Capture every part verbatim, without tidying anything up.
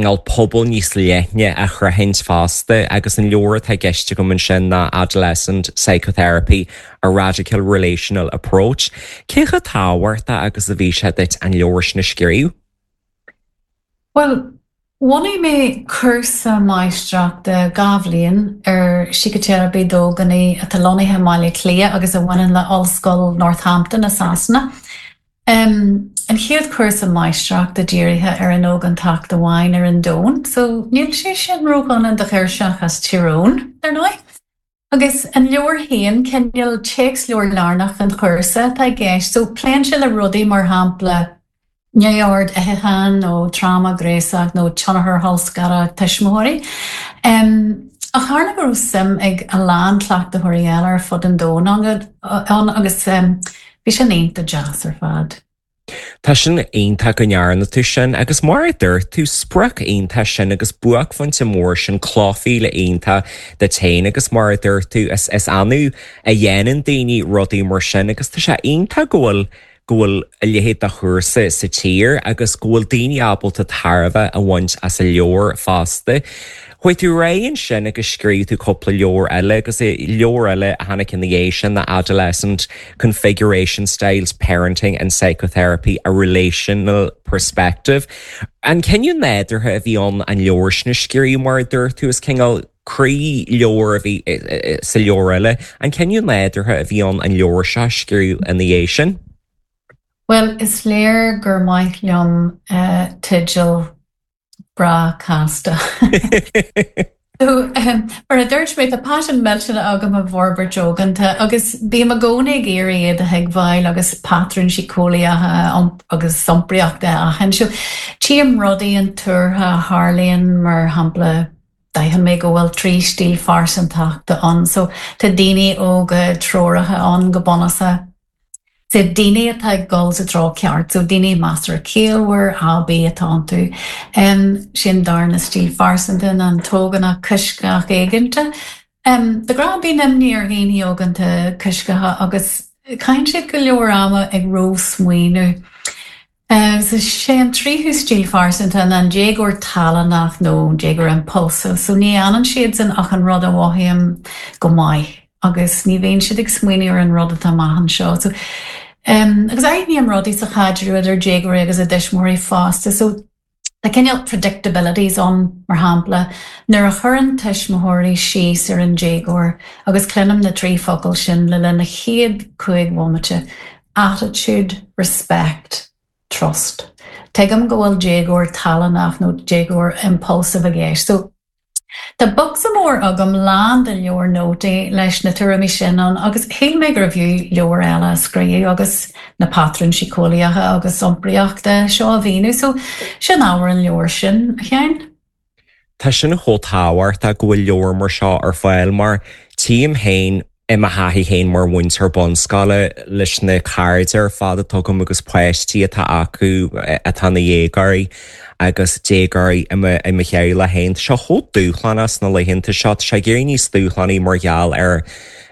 cineál pobal níos leithne a shroichint fosta agus an leabhar atá i gceist agam ansin ná Adolescent Psychotherapy, a Radical Relational Approach. Cé chomh tábhachtach agus a bhí sé duit an leabhar sin a scríobh? Well, bhunaigh mé cúrsa máistreachta dhá bhliain ar síciteiripe d'ógánaigh atá lonnaithe i mBaile Átha Cliath agus a bhaineann le Ollscoil Northampton i Sasana. Um, an chéad chúrsa máistreachta dírithe ar an ógántacht amháin ar an domhan, so níl sé sin ródhona do ghirseach as Tír Eoghain ar ndóigh. Agus an leabhar féin cineál téacsleabhar lárnach an chúrsa atá i gceist, so pléann sé le rudaí mar shampla neamhord itheacháin nó tráma gnéasach nó tionchar colscaradh tuismitheoirí. Um, ach tharla go raibh suim ag a lán cleachtaitheoirí eile ar fud an domhain ann agus um, bhí sin iontach deas ar fad. Tá sin iontach go ndearna tú sin agus mar a dúirt tú sprioc iontach sin agus buaicphointe mór sin clochmhíle iontach duit féin agus mar a dúirt tú is is annamh a dhéanann daoine rudaí mar sin agus tá sé iontach go bhfuil go bhfuil a leithéid de chúrsa sa tír agus go bhfuil daoine ábalta tairbhe a bhaint as an leabhar fosta. Chuaigh tú ar aghaidh ansin agus scríobh tú cúpla leabhar eile agus leabhar eile a tháinig ina dhiaidh sin na Adolescent Configuration Styles, Parenting and Psychotherapy, a Relational Perspective. An cinneadh nádúrtha a bhí ann an leabhar sin a scríobh mar a dúirt tú is cineál croí-leabhar a bhí sa leabhar eile, an cinneadh nádúrtha a bhí ann an leabhar seo a scríobh ina dhiaidh sin? Well, is léir gur maith liom uh, teideal breá casta. So, um, mar a dúirt mé tá paisean millteanach agam i bhforbairt óganta agus bím i gcónaí ag iarraidh iad a thuigbheáil agus patrúin síceolaíocha agus iompraíochta a aithint. So, tchím rudaí intuartha a tharlaíonn mar shampla d'aithin mé go bhfuil trí stíl phearsantachta ann, so tá daoine óga treoraithe ann go bunúsach. So daoine atá ag dul sa treo ceart, so daoine measartha ciallmhar aibí atá iontu. Um, sin darna stíl phearsanta an t-ógánach coisctheach éiginnte. Um, de ghnáth bíonn imní ar dhaoine óganta coisctheacha agus caitheann siad go leor ama ag ró-smaoineamh. Uh, so sé an tríú stíl phearsanta an déagóir tallannach nó déagóir impulsive, so ní dhéanann siad san ach an rud a mhothaím go maith agus ní bhíonn siad ag smaoineamh ar an rud atá maith anseo. So, um, agus aithním rudaí sa chaidreamh idir déagóirí agus a dtuismitheoirí fosta, so Tá cineál predictabilities ann mar shampla nuair a chuireann tuismitheoirí síos ar an déagóir agus cluinim na trí focal sin le linn na chéad cúig bhomaite, attitude, respect, trust. Tuigim go bhfuil déagóir tallannach nó déagóir impulsive i gceist. So Tá bocsa mór agam lán de leabhar nótaí leis na tuairimí sin ann agus shíl mé gurbh fhiú leabhar eile a scríobh agus na patrúin síceolaíocha agus iompraíochta seo a mhíniú, so sin ábhar an leabhair sin a Sheáin. Tá sin chomh tábhachtach go bhfuil leabhar mar seo ar fáil mar tchím féin i mo thaithí féin mar mhúinteoir bunscoile leis na cairde ar fad atá agam agus páistí atá acu atá ina ndéagóirí agus déagóirí i mo theaghlach féin. Tá sé chomh dúshlánach sna laethanta seo, tá sé ag éirí níos dúshlánaí mar gheall ar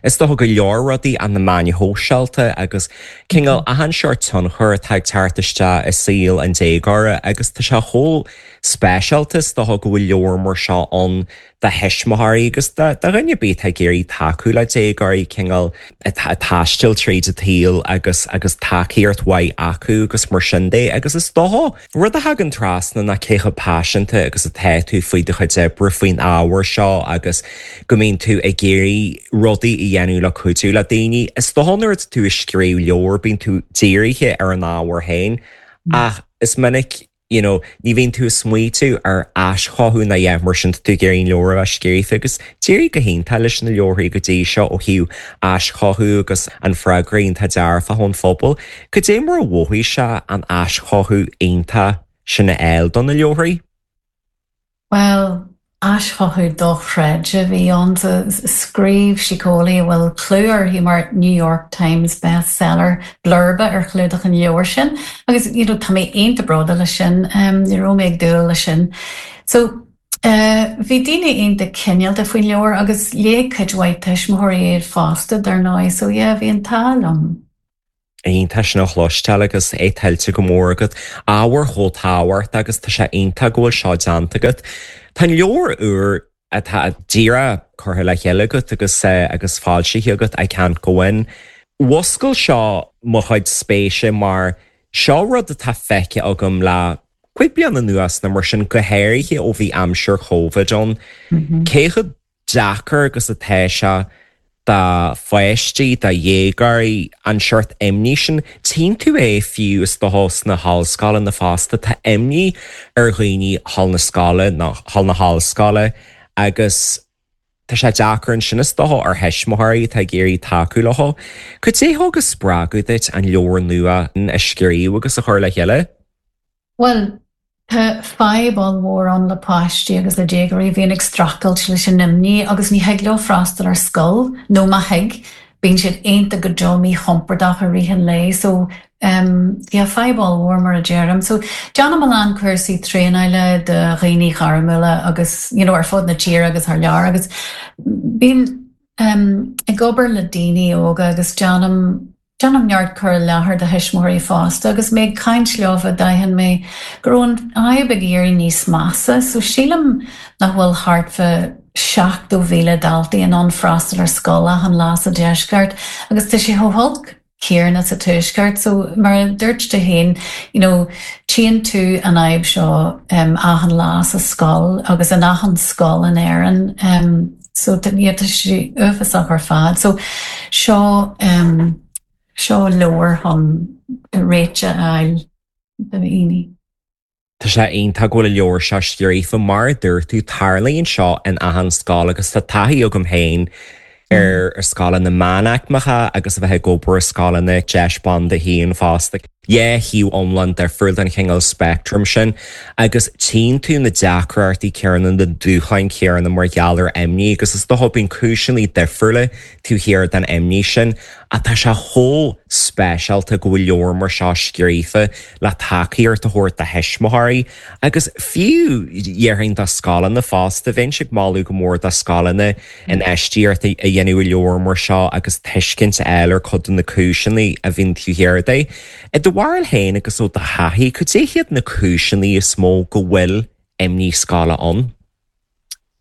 is dócha go leor rudaí an na meáin shóisialta agus cineál achan seort tionchar atá ag teacht isteach i saol an déagóra agus tá sé chomh speisialta is dócha go bhfuil leabhar mar seo ann do thuismitheoirí agus do dhuine ar bith atá ag iarraidh tacú le déagóirí cineál atá ag taisteal tríd an tsaol agus agus tacaíocht mhaith acu agus mar sin de agus is dócha rud a thagann trasna ná cé chomh paiseanta agus atá tú faoi do chuid oibre faoin ábhar seo agus go mbíonn tú ag iarraidh rudaí a dhéanamh le cuidiú le daoine. Is dócha nuair atá tú ag scríobh leabhar bíonn tú dírithe ar an ábhar féin ach is minic you know, ní bhíonn tú ag smaointiú ar aischothú ná é mar sin tú ag iarraidh an leabhar a bheith scríofa agus d'éirigh go hiontach leis na leabharthaí go dtí seo ó thaobh aischothú agus an freagra iontach dearfach ón phobal. Cad é mar a mhothaigh sé an aischothú iontach sin a fháil do na leabharthaí? Well, aischothú dochreidte a bhí ann scríobh síceolaí a bhfuil clú uirthi mar New York Times bestseller blurba ar chlúdach an leabhair sin agus you know, tá mé iontach bródúil leis sin um, ní raibh mé ag dúil leis sin. So uh, bhí daoine iontach cineálta faoin leabhar agus léigh cuid mhaith tuismitheoirí iad fosta dar ndóigh, so yeah, bhí an t-ádh liom. Iontach sin a chloisteáil agus é tuillte go mór agat ábhar chomh tábhachtach agus tá sé iontach go bhfuil seo déanta agat. Tá an leabhar úr atá díreach curtha le chéile agat agus eh, agus foilsithe agat I can't go in. Mhúscail seo mo chuid spéise mar seo rud atá feicthe agam le cúpla bliain anuas nó mar sin go háirithe ó bhí aimsir Covid ann. Cé chomh deacair agus atá sé do pháistí do dhéagóirí an seort imní sin tchíonn tú é fiú is dócha sna hollscoileanna fosta tá imní ar dhaoine thall na scoile nó thall na hollscoile agus tá sé deacair ansin is dócha ar thuismitheoirí atá ag iarraidh tacú leo. Cad é thug spreagadh duit an leabhar nua a scríobh agus a chur le chéile? Well, Tá fadhb mhór ann le páistí agus le déagóirí bhíonn ag streachailt leis an imní agus ní thig leo freastal ar scoil nó má thig, bíonn siad iontach go deo míchompordach i rith an lae, so um, yeah, fadhb mhór mar a deirim. So déanaim a lán cúrsaí traenála do dhaoine gairmiúla agus you know, ar fud na tíre agus thar lear agus bím um, ag obair le daoine óga agus déanaim Déanaim neart cur i láthair do thuismitheoirí fosta, agus mé ag caint leo d'aithin mé go raibh an fhadhb ag éirí níos measa, so sílim nach bhfuil thart fá seachtó mhíle daltaí in ann freastal ar scoil achan lá sa deisceart, agus tá sé chomh holc céanna sa tuaisceart, so mar a dúirt tú féin, you know, tchíonn tú an fhadhb seo um, achan lá sa scoil agus in achan scoil in Éirinn. Um, so tá sé uafásach ar fad. So seo um, seo leabhar chun réiteach a fháil do dhaoine. Tá sé iontach go bhfuil leabhar seo scríofa mar dúirt tú tarlaíonn seo in achan scoil agus tá taithí agam féin ar ar scoileanna meánaicmeacha agus a bheith ag obair i scoileanna deis banda haon fosta. Dhá thaobh iomlán difriúil den chineál spectrum sin, agus tchíonn tú na deacrachtaí céanna na dúshláin chéanna mar gheall ar imní agus is dócha bíonn cúiseanna difriúla taobh thiar den imní sin, ach tá sé chomh speisialta go bhfuil leabhar mar seo scríofa le tacaíocht a thabhairt do thuismitheoirí agus fiú déarfainn do scoileanna fosta bheinn ag moladh go mór do scoileanna infheistíocht a dhéanamh i leabhar mar seo agus tuiscint a fháil ar chuid de na cúiseanna a bhíonn taobh thiar de. I do bharúil féin agus ó do thaithí, cad é hiad na cúiseanna is mó go bhfuil imní scoile ann?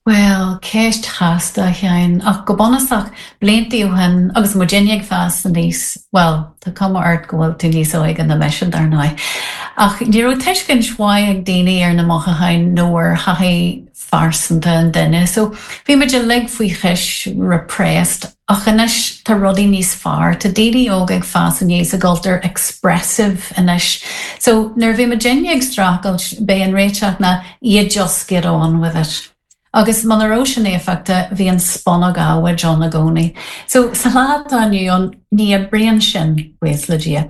Well, ceist chasta Sheáin ach go bunúsach blianta ó shin agus muidinne ag fás aníos, well, tá cuma ort go bhfuil tú níos óige ná mise dar ndóigh. Ach ní raibh tuiscint mhaith ag daoine ar na mothúcháin nó ar thaithí phearsanta an duine, so bhí muid uilig faoi chois repressed ach anois tá rudaí níos fearr, Tá daoine óga ag fás aníos i gcultúr expressive anois. So nuair bhí muidinne ag streachailt b'é an réiteach ná you just get on with it. Agus muna raibh sin éifeachtach bhí an spúnóg adhmaid ann i gcónaí. So sa lá atá inniu ann ní oibríonn sin buíochas le Dia.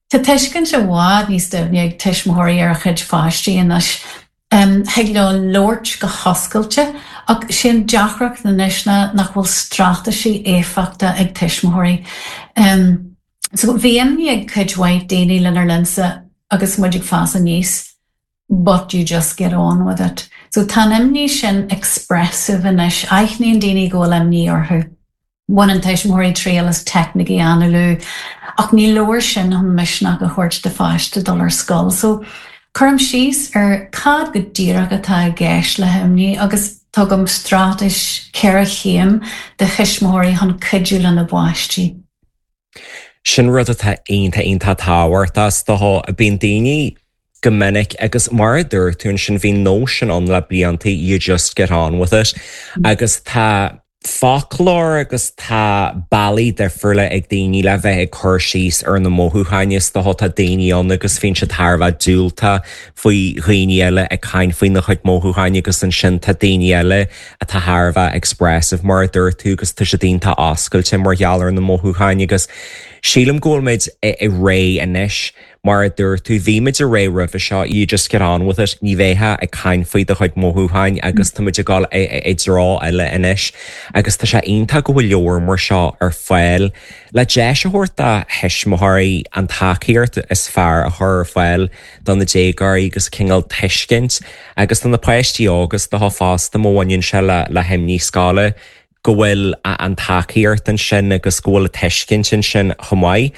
Tá tuiscint i bhfad níos doimhne ag tuismitheoirí ar a chuid pháistí anois. Um, thig leo labhairt go hoscailte ach sin deacracht anois ná nach bhfuil straitéisí éifeachtacha ag tuismitheoirí. Um, so bhí imní ag cuid mhaith daoine lenár linnsa agus muid ag fás aníos, but you just get on with it. So tá an imní sin expressive anois, aithníonn daoine go bhfuil imní orthu. Baineann tuismitheoirí triail as teicnící análú, ach ní leor sin chun misneach a thabhairt do pháiste dul ar scoil. So cuirim síos ar cad go díreach atá i gceist le himní agus tugaim straitéis ceithre chéim do thuismitheoirí chun cuidiú lena bpáistí. Sin rud atá iontach iontach tábhachtach is dócha bíonn daoine go minic agus mar a dúirt tú ansin bhí nós ann le blianta you just get on with it agus tá foclóir agus tá bealaí difriúla ag daoine le bheith ag cur síos ar na mothúcháin is dócha tá daoine ann agus bíonn siad thar a bheith diúltach faoi dhaoine eile ag caint faoina chuid mothúcháin agus ansin tá daoine eile atá thar a bheith expressive mar a dúirt tú agus tá siad iontach oscailte mar gheall ar na mothúcháin agus sílim go bhfuil muid i ré anois mar a dúirt tú bhí muid i ré roimhe seo you just get on with it ní bheifeá ag caint faoi do chuid mothúcháin agus tá muid ag dul i dtreo eile anois agus tá sé iontach go bhfuil leabhar mar seo ar fáil le deis a thabhairt do thuismitheoirí an tacaíocht is fearr a chur ar fáil do na déagóirí agus cineál tuiscint agus do na páistí agus do fosta má bhaineann sé le le himní scoile go bhfuil an tacaíocht ansin agus go bhfuil tuiscint ansin chomh maith.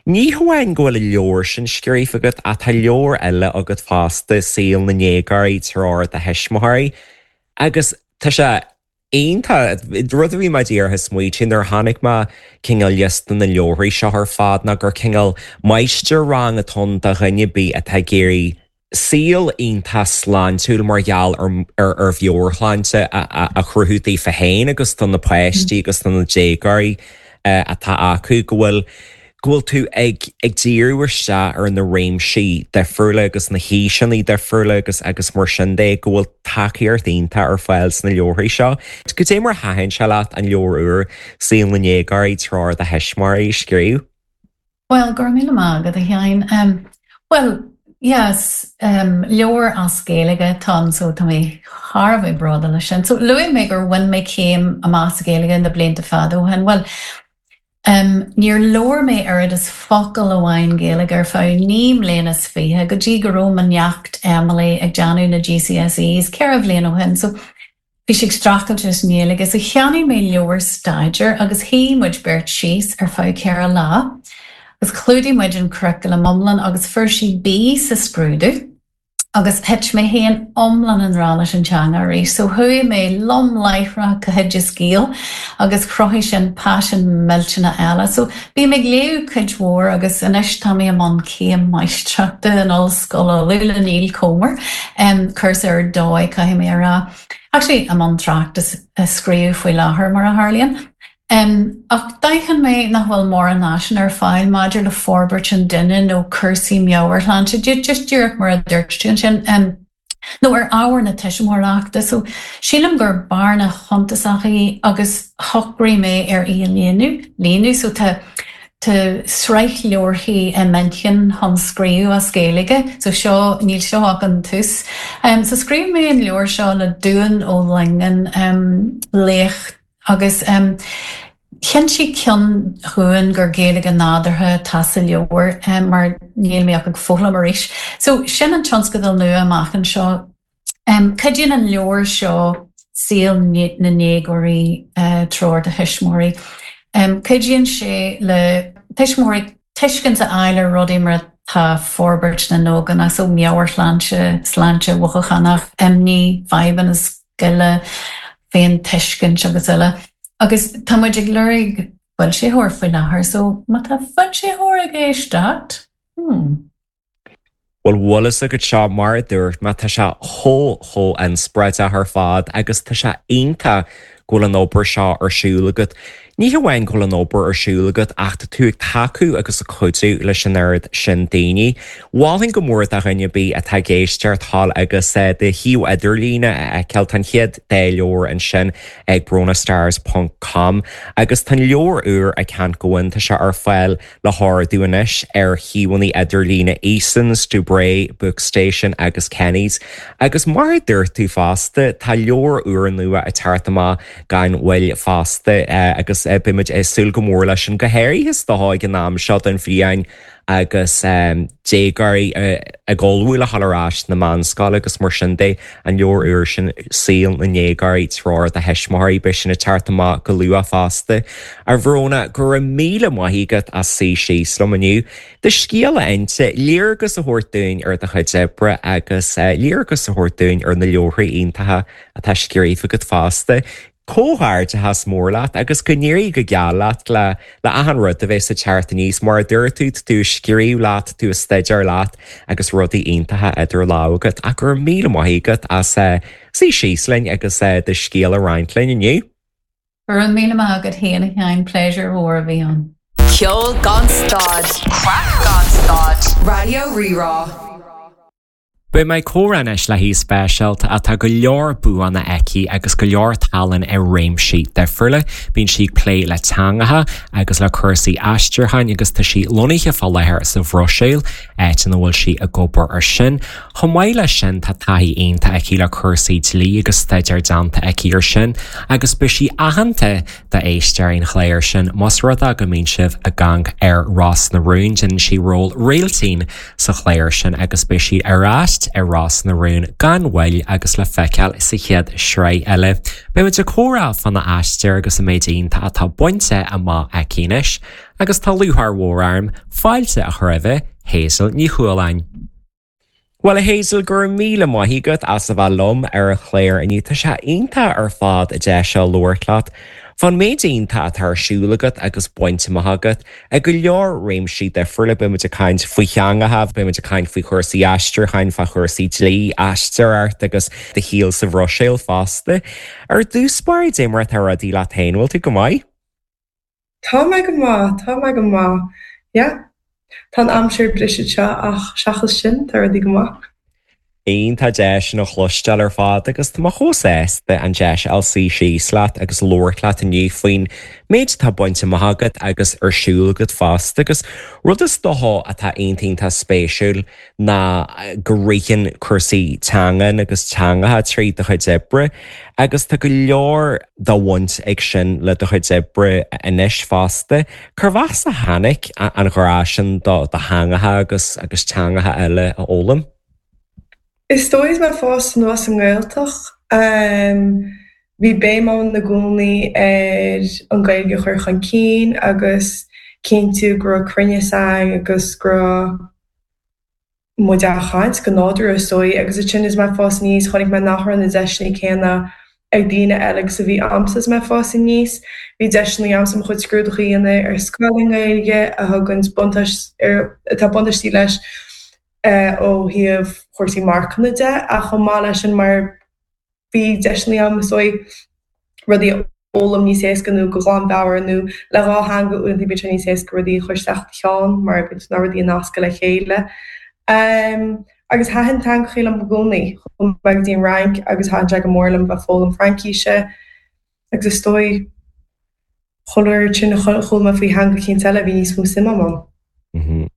Ní hamháin go bhfuil an leabhar sin scríofa agat ach tá leabhar eile agat fosta Saol na nDéagóirí Treoir do Thuismitheoirí agus tá sé iontach rud a bhí mé díreach ag smaointiú nuair a chonaic mé cineál liosta na leabharthaí seo ar fad ná gur cineál máistir-rang atá ann do dhuine ar bith atá ag iarraidh saol iontach sláintiúil mar gheall ar ar mheabhairshláinte a chruthú daofa féin agus do na páistí agus do na déagóirí atá acu go bhfuil go bhfuil tú ag ag díriú isteach ar na réimsí difriúla agus na haoiseanna difriúla agus agus mar sin de go bhfuil tacaíocht iontach ar fáil sna leabharthaí seo. Cad é mar a thaitin sé leat an leabhar úr Saol na nDéagóirí Treoir do Thuismitheoirí a scríobh? Well, go raibh míle maith agat a Sheáin. Um, well, yes, um, leabhar as Gaeilge atá ann so tá mé thar a bheith bródúil leis sin. So luaigh mé gur bhain mé céim amach sa Ghaeilge na blianta fada ó shin. Well, Um, níor labhair mé oiread is focal amháin Gaeilge ar feadh naoi mbliana is fiche go dtí go raibh mo neacht Emily ag déanamh na GCSEs ceithre bhliain ó shin, so bhí sí ag streachailt leis an nGaeilge, so cheannaigh mé leabhar staidéir agus shuigh muid beirt síos ar feadh ceithre lá. Agus chlúdaigh muid an curriculum iomlán agus fuair sí B sa scrúdú. agus thit mé féin iomlán i ngrá leis an teanga arís, so chuaigh mé lom láithreach go hOideas Gael agus chruthaigh sin paisean millteanach eile. So bím ag léamh cuid mhór agus anois tá mé i mbun céim máistreachta in Ollscoil Uladh le Neil Comer, um, cúrsa ar dóigh caithfidh mé a rá. Actually i mbun tráchtas a scríobh faoi láthair mar a tharlaíonn. Um, ach d'aithin mé nach bhfuil mórán áiseanna ar fáil maidir le forbairt an duine nó cúrsaí meabhairshláinte, just díreach mar a dúirt tú ansin. Um, nó ar ábhar na tuismitheoireachta, so sílim gur bearna shuntasach í agus shocraigh mé ar í a líonadh, líonadh, so tá tá sraith leabharthaí i m'intinn chun scríobh as Gaeilge, so seo níl seo ach an tús. Um, so scríobh mé an leabhar seo le Dúin Ó Loingean um, laoch agus um, chinntigh ceann dhúinn gur Gaeilge nádúrtha atá sa leabhar um, mar níl mé ach ag foghlaim arís. So sin an tionscadal nua amach anseo. Um, Cuidíonn an leabhar seo saol na ndéagóirí uh, treoir do thuismitheoirí. Um, Cuidíonn sé le tuismitheoirí tuiscint a fháil ar rudaí mar tá forbairt na n-ógánach so meabhairshláinte, sláinte mhothúchánach, imní, fadhbanna scoile, féintuiscint agus eile. Agus tá muid ag lorg foilsitheoir faoi láthair, so má tá foilsitheoir ag éisteacht. Hmm. Well bhfuil a fhios agat seo mar a dúirt mé tá sé chomh chomh inspioráideach ar fad agus tá sé iontach go bhfuil an obair seo ar siúl agat. Ní hamháin go bhfuil an obair ar siúl agat ach tá tú ag tacú agus ag cuidiú leis an oiread sin daoine. Mholfainn go mór do dhuine ar bith atá ag éisteacht thall agus do shuíomh idirlíne a fheiceáil tá an chéad dá leabhar ansin ag bronastars ponc com agus tá an leabhar úr I Can't Go In tá sé ar fáil le hordú anois ar shuíomhanna idirlíne Eason's, Dubray, Bookstation agus Kenny's. Agus mar a dúirt tú fosta tá leabhar úr nua ag teacht amach gan mhoill fosta agus beimid ag súil go mór leis an go háirithe is dócha ag an am seo den bhliain agus déagóirí ag ullmhú le dhul ar ais na meánscoile agus mar sin de an leabhar úr sin Saol na nDéagóirí Treoir do Thuismitheoirí beidh sin ag teacht amach go luath fosta. A Bhróna go raibh míle maith agat as suí síos liom inniu. Do scéal a inse léargas a thabhairt dúinn ar do chuid oibre agus léargas a thabhairt dúinn ar na leabharthaí iontacha atá scríofa agat fosta. Comhghairdeachas mór leat agus go n-éirí go geal leat le le achan rud a bheas ag teacht aníos mar a dúirt tú tú ag scríobh leat tú ag staidéar leat agus rudaí iontacha idir lámha agat ach go raibh míle maith agat as suí síos linn agus do scéal a roinnt linn inniu. Go raibh míle maith agat féin a Sheáin pléisiúr mór a bhí ann. Ceol gan stad, craic gan stad, Raidió Rí-Rá. Beidh mé ag comhrá anois le haoi speisialta atá go leor buanna aici agus go leor tallann i réimsí difriúla. Bíonn sí ag plé le teangacha agus le cúrsaí aistriúcháin agus tá sí lonnaithe fá láthair sa Bhruiséil, áit ina bhfuil sí ag obair ar sin. Chomh maith leis sin tá taithí iontach aici le cúrsaí dlí agus staidéar déanta aici ar sin, agus beidh sí aitheanta d'éisteoirí an chláir sin más rud é go mbíonn sibh ag amharc ar Ros na Rún, déanann sí ról Réiltín sa chlár sin agus beidh sí ar ais pháirt i Ros na Rún gan mhoill agus le feiceáil sa chéad sraith eile. Beimid ag comhrá fána aistear agus an méid iontach atá bainte amach aici anois, agus tá lúcháir mhór orm fáilte a chur roimh Hazel Ní Chualáin. Well a Hazel go raibh míle maith agat as a bheith liom ar an chlár inniu tá sé iontach ar fad deis a labhairt leat. Fán méid iontach atá ar siúl agat agus bainte amach agat i go leor réimsí difriúla beimid ag caint faoi theangacha, beimid ag caint faoi chúrsaí aistriúcháin, fá chúrsaí dlí, aisteoireacht agus do shaol sa Bhruiséil fosta. Ar dtús báire cad é mar atá rudaí leat féin bhfuil tú go maith? Tá mé go maith, tá mé go maith. Yeah. Tá an aimsir briste seo ach seachas sin tá rudaí go maith. Iontach deas sin a chloisteáil ar fad agus tá mé chomh sásta an deis a suí síos leat agus labhairt leat inniu faoin méid atá bainte amach agat agus ar siúl agat fosta agus rud is dócha atá iontach spéisiúil ná go ritheann cúrsaí teangan agus teangacha trí do chuid oibre agus tá go leor de bhaint ag sin le do chuid oibre anois fosta. Cérbh as a tháinig an grá sin do do theangacha agus agus teangacha eile a fhoghlaim? Is dóigh is mé ag fás anuas sa nGaeltacht. Bhí béim ann i gcónaí ar an Ghaeilge a chur chun cinn agus cinntiú go raibh cruinneas ann agus go raibh muid á chaint go nádúrtha is dóigh agus ansin is mé ag fás aníos chonaic mé nach raibh na deiseanna céanna ag daoine eile agus a bhí a'msa is mé ag fás aníos. Bhí deiseanna a'msa mo chuid scrúduithe a dhéanamh ar scoil i nGaeilge a thugann buntáiste ar atá buntáistí leis ó thaobh chúrsaí marcanna de ach chomh maith leis sin mar bhí deiseanna a'm is dóigh rudaí a fhoghlaim níos éasca nó go glanmheabhair nó le dhá theanga uaireanta bíonn sé níos éasca rudaí a chur isteach do cheann mar bíonn na rudaí a nascadh le chéile. Um, agus thaitin teangacha liom i gcónaí chuaigh mé go dtí an Fhrainc agus thaitin sé go mór liom bheith foghlaim Fraincise agus is dóigh chuile uair sin a chuala mé faoi theanga eicínt eile bhí níos mó suim agam ann. Mm -hmm.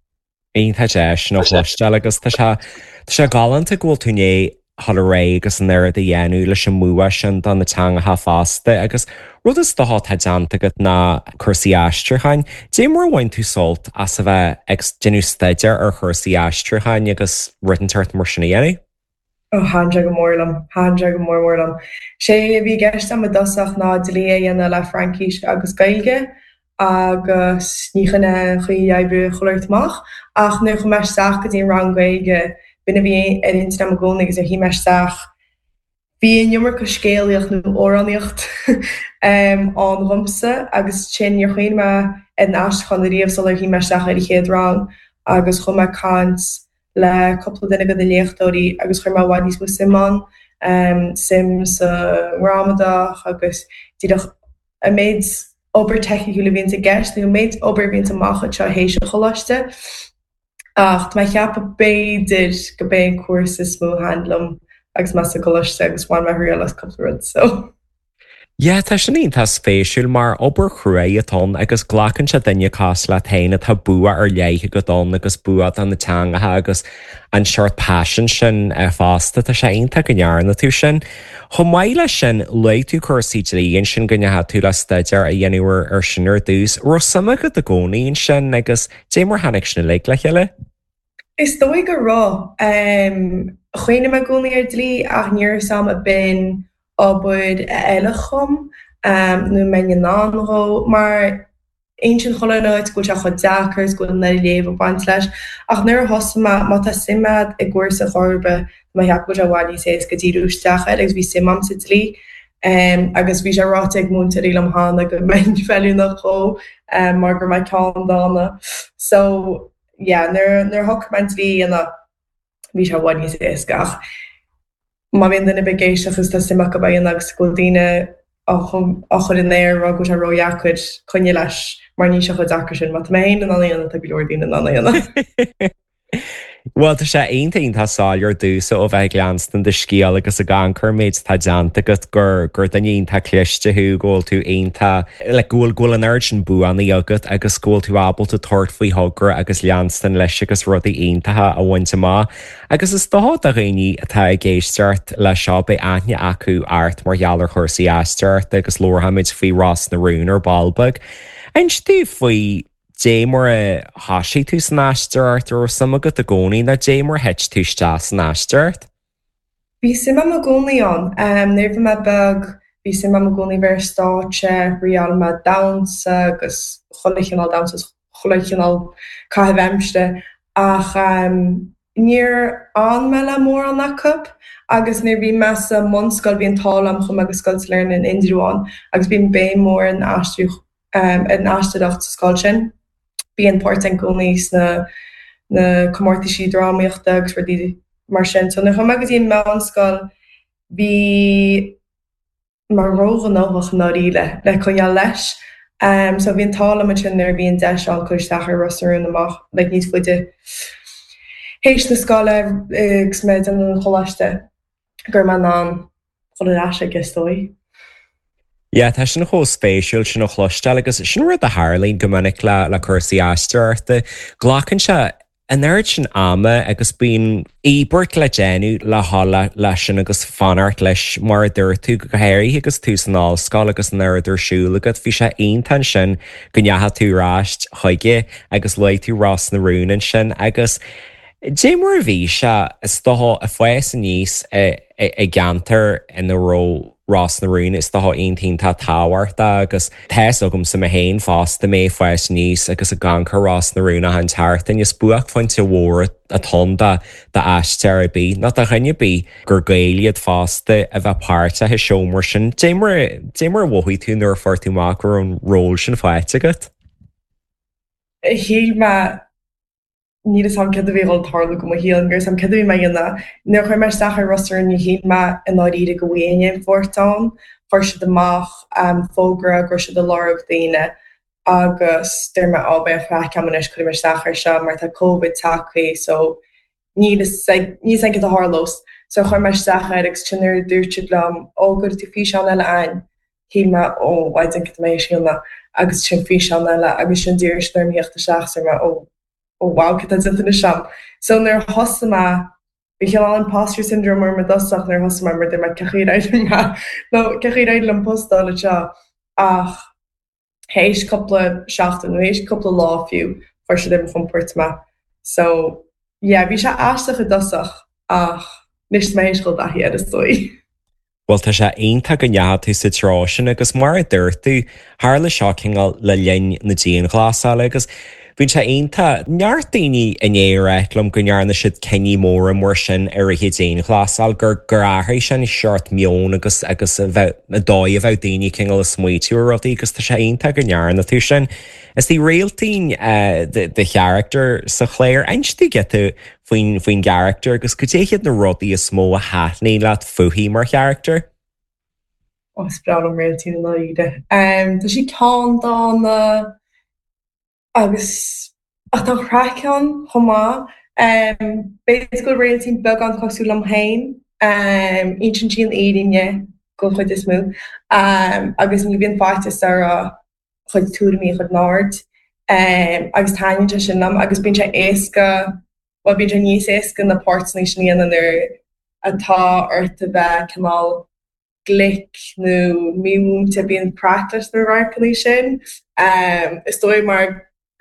Iontach deas sin a chloisteáil agus tá sé tá sé galánta go bhfuil tú né ré agus an oiread a dhéanamh leis an mbua sin do na teangacha fosta agus rud is dócha atá déanta agat ná cúrsaí aistriúcháin. Cad é mar a bhain tú sult as a bheith ag déanamh staidéar ar chúrsaí aistriúcháin agus rud inteacht mar sin a dhéanamh? Ó thaitin sé go mór liom, thaitin sé go mór mór liom. Sé a bhí i gceist agam i dtosach ná dlí a dhéanamh le Fraincis agus Gaeilge agus ní hin é an chaoi a oibrigh chuile shórt amach ach nuair a chuaigh mé isteach go dtí an rang Gaeilge b'in a bhí ar intinn agam i gcónaí agus ar shuigh mé isteach bhí an iomarca scéalaíocht nó amhránaíocht ann dhomsa agus sin níor chuimhnigh mé ar an aistriúchán ariamh sular shuigh mé isteach ar an chéad rang agus chuaigh mé ag caint le cúpla duine de na léachtóirí agus chuir mé i bhfad níos mó suim ann, suim sa ngramadach agus díreach an méid obair teicniúil a bhíonns i gceist nó an méid obair a bhíonns amach anseo théis an choláiste. Ach tá mé ag ceapadh b'fhéidir go b'é an cúrsa is mó a thaitin liom agus mé sa gcoláiste agus bhain mé thriail as cúpla rud so. Yeah, tá sin iontach spéisiúil mar obair chruaidh atá ann agus glacann sé duine cosúil leat féin atá bua ar leith agat ann agus bua do na teangacha agus an seort passion sin fosta tá sé iontach go ndearna tú sin. Chomh maith leis sin luaigh tú cúrsaí dlí ansin go ndeachaigh tú le staidéar a dhéanamh ar ar sin ar dtús. Raibh suim agat i gcónaí ansin agus cad é mar tháinig sin uilig le chéile? Is dóigh go raibh. Chuimhnigh mé i gcónaí ar dlí ach ní raibh a fhios agam ab in obair a fheilfeadh dhom nó mbeinn in ann dhó mar insíonn chuile áit go bhfuil sé chomh deacair is go bhfuil an oiread léamh ag baint leis ach nuair a thosaigh mé má tá suim agat i gcúrsa chor ar bith tá mé ag ceapadh go bhfuil sé i bhfad níos éasca díriú isteach air agus bhí suim agam sa dlí agus bhí sé ráite ag múinteoirí liom cheana go mbeinn feiliúnach dhó mar go raibh mé ceanndána so yeah nuair nuair a shocraigh mé an dlí a dhéanamh bhí sé i bhfad níos éasca ach má bhíonn duine ar bith ag éisteacht agus tá suim acu é a dhéanamh agus go bhfuil daoine á chur in aer rá go bhfuil sé ródheacair coinnigh leis mar níl sé chomh deacair sin má tá mé féin in ann é a dhéanamh tá go leor daoine in ann é a dhéanamh. Bhuel tá sé iontach iontach soiléir domhsa ó bheith ag leanstan do scéal agus ag amharc ar an méid atá déanta agat gur gur duine iontach cliste thú go bhfuil tú iontach like go bhfuil go bhfuil an oiread sin buanna agat agus go bhfuil tú ábalta tabhairt faoi thogra agus leanstan leis agus rudaí iontacha a bhaint amach. Agus is dócha do dhaoine atá ag éisteacht leis seo beidh aithne acu ort mar gheall ar chúrsaí aisteoireachta agus labharfaimid faoi Ros na Rún ar ball beag. Inis domh faoi Dé mar a thosaigh tú san aisteoireacht raibh suim agat i gcónaí nó dé mar thit tú isteach san aisteoireacht? Bhí suim agam i gcónaí ann. Nuair a bhí mé beag bhí suim agam i gcónaí bheith ar stáitse, thriail mé damhsa agus chuile chineál damhsa is chuile chineál caitheamh aimsire ach níor fhan mé le mórán acu agus nuair a bhí mé sa mbunscoil bhí an t-ádh liom chuaigh mé go Scoil Sailearna in Indreabhán agus bíonn béim mór ar an aistriú ar an aisteoireacht sa scoil sin. Bíonn páirt i gcónaí sna na comórtaisí drámaíochta agus rudaí mar sin. So nuair a chuaigh mé go dtí an meánscoil bhí mé róghnóthach i ndáiríre le coinneáil leis. Um, so bhí an t-ádh liom ansin nuair a bhí an deis ann cur isteach ar Ros na Rún amach like, níos faide théis na scoile agus mé ag déanamh an choláiste go raibh mé in ann dul ar ais aige is dóigh. Yeah, tá sin chomh spéisiúil sin a chloisteáil agus sin rud a tharlaíonn go minic le le cúrsaí aisteoireachta. Glacann sé an oiread sin ama agus bíonn íobairt le déanamh le le leis sin agus fanacht leis mar a dúirt tú go háirithe agus tú san ollscoil agus an oiread ar siúl agat, bhí sé iontach sin go ndeachaigh tú ar ais chuige agus luaigh tú Ros na Rún ansin agus Dé mar a bhí sé is dócha ag fás aníos i gceantar ina raibh Ros na Rún is dócha iontach tábhachtach agus tá a fhios agamsa mé féin fosta mé ag fás aníos agus ag amharc ar Ros na Rún achan tseachtain is buaicphointe mhór atá ann d'aisteoir ar bith nó do dhuine ar bith gur Gael iad fosta a bheith páirteach i seó mar sin. Dé mar dé mar a mhothaigh tú nuair a fuair tú amach go raibh an ról sin faighte agat? Shíl mé níl a fhios agam céard a bhí ag tarlú go mo shaol, gur sam céard a bhí mé a dhéanamh. Nuair a chuir mé isteach ar Ros na Rún ní shíl mé i ndáiríre go bhfaighinn aon pháirt ann, chuir siad amach um, fógra go raibh siad ag lorg daoine agus dúirt mé á beidh an chraic agam anois cuirfidh mé isteach ar seo mar tá Covid tagtha so níl a fhios agam céard a tharlós. So chuir mé isteach air agus sin nuair a dúirt siad liom ó go tú físeán eile againn. Shíl mé ó mhaidin céard a mbeidh sé agus sin físeán eile agus sin d'iarr siad orm theacht isteach so mé ó ó wow cad tá déanta anois agam. So nuair a thosaigh mé bhí cineál imposter syndrome orm i dtosach nuair a thosaigh mé mar dúirt mé cén chaoi ar éirigh mé nó cén chaoi ar éirigh liom post a fháil anseo ach théis cúpla seachtain nó théis cúpla lá fiú chuir siad ar mo chompord mé. So yeah, bhí sé aisteach i dtosach ach anois tá mé théis dul i dtaithí air is dóigh. Well tá sé iontach go ndeachaigh tú sa treo sin agus mar a dúirt tú tharla seo cineál le linn na dianghlasála agus bíonn sé iontach neart daoine in éireach liom go ndearna siad cinní móra mar sin ar a dianghlasáil gur gur athraigh sin seort meon agus agus a bheith a dóigh a bheith daoine cineál ag smaoitiú ar rudaí agus tá sé iontach go ndearna tú sin. Is í Réaltín do charachtar sa chlár inis giota faoin faoin gcarachtar agus cad iad na rudaí is mó a thaitníonn leat fúithi mar charachtar? Ó is breá liom Réaltín i ndáiríre. Um, tá sí ceanndána agus ach tá craic ann chomh maith. Um, B'fhéidir go bhfuil Réaltín beagán cosúil liom féin, um, insíonn sí an fhírinne den chuid is mó, um, agus ní bhíonn faitíos uirthi a cuid tuairimí a chur in airde. Um, agus taitníonn sé sin liom agus bíonn sé éasca well bíonn sé níos éasca na páirteanna sin a dhéanamh nuair atá ort a bheith cineál glic nó mímhúinte bíonn craic leis na radharcanna sin. Um, is dóigh mar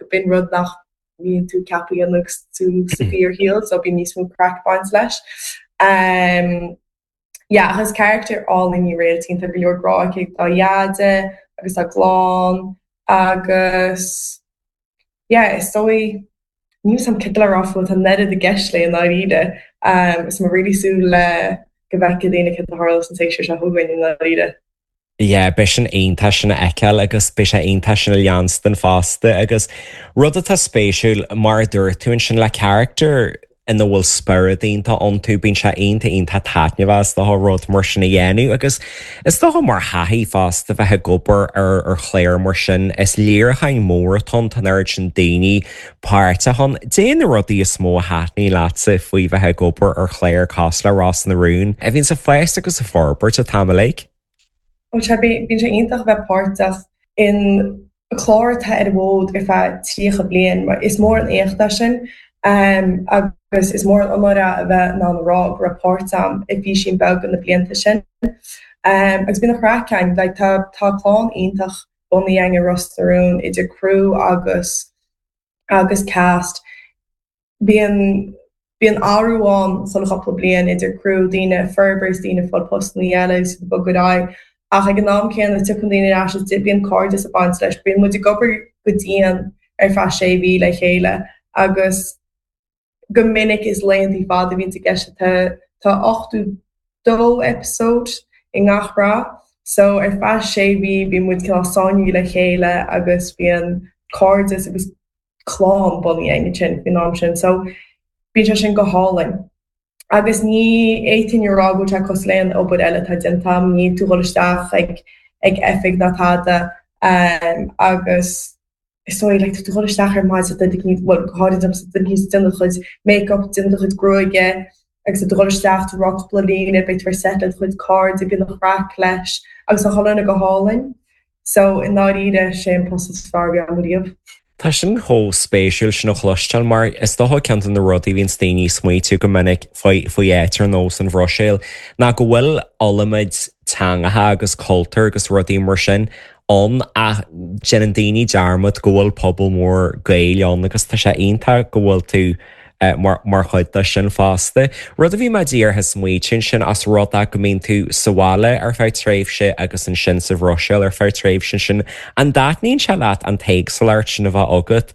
go b'in rud nach mbíonn tú ceaptha a dhéanamh agus tú sa fíorshaol, so bíonn níos mó craic baint leis. Um, yeah, agus charachtar álainn í Réaltín tá go leor grá aici dá dheaide agus dá clann agus yeah, is dóigh níl a fhios agam cad le rá fúithi tá an oiread i gceist léi i ndáiríre. Um, is mé really súil le go bhfeicfidh daoine cad a tharla san séasúr seo chugainn i ndáiríre. Yeah, beidh sin iontach sin a fheiceáil agus beidh sé iontach sin a leanstan fosta agus rud atá spéisiúil mar a dúirt tú ansin le charachtar ina bhfuil spiorad iontach iontu bíonn sé iontach iontach taitneamhach is dócha rud mar sin a dhéanamh agus is dócha mar thaithí fosta bheith ag obair ar ar chlár mar sin is léiriúchán mór atá ann tá an oiread sin daoine páirteach ann. Cad é na rudaí is mó a thaitníonn leatsa faoi bheith ag obair ar chlár cosúil le Ros na Rún, a bhíonn ag fás agus ag forbairt an t-am uilig. Ó sé bíonn sé iontach a bheith páirteach in clár atá ar an bhfód ar feadh tríocha bliain, mar is mór an éacht é sin um, agus is mór an onóir é a bheith in ann a rá go raibh páirt agam i bhfísín beag na blianta sin. Um, agus bíonn an chraic ann, like, tá tá clann iontach bunaithe i Ros na Rún idir criú agus agus cast bíonn bíonn athrú ann chuile chúpla bliain idir criú daoine forbairt daoine fáil postanna eile agus ag bogadh ar aghaidh ach ag an am céanna tiocfaidh daoine ar ais is bíonn cairdeas ag baint leis bíonn muid ag obair go dian ar feadh sé mhí le chéile agus go minic is laethanta fada a bhíonn i gceist tá tá ochtó dó episode i ngach sraith so ar feadh sé mhí bíonn muid cineál sáinnithe le chéile agus bíonn cairdeas agus clann bunaithe ansin faoin am sin so bíonn sé sin go hálainn. Agus ní fhéadfainn a rá go bhfuil sé cosúil le aon obair eile atá déanta agam, níl tú ag dul isteach ag ag oifig ná tada um, agus is dóigh like, tá tú ag dul isteach ar maidin duine éicint well go háirid domsa duine éicint déanamh do chuid make-up, déanamh do chuid gruaige agus tá tú ag dul isteach tú rá cúpla líne beidh tú ar set le do chuid cairde bíonn an chraic leis agus tá chuile dhuine go hálainn. So i ndáiríre sé an post is fearr a bhí agam riamh. Tá sin chomh spéisiúil sin a chloisteáil mar is dócha ceann de na rudaí bhíonn daoine ag smaoitiú go minic faoi faoi áit ar nós an Bhruiséil ná go bhfuil iliomad teangacha agus cultúr agus rudaí mar sin ann ach déanann daoine dearmad go bhfuil pobal mór Gael ann agus tá sé iontach go bhfuil tú eh, mar, mar chuid de sin fosta. Rud a bhí mé díreach ag smaoitiú sin as rud é go mbíonn tú sa bhaile ar feadh tréimhse agus ansin sa Bhruiséil ar feadh tréimhse sin an dtaitníonn sé leat an t-éagsúlacht sin a bheith agat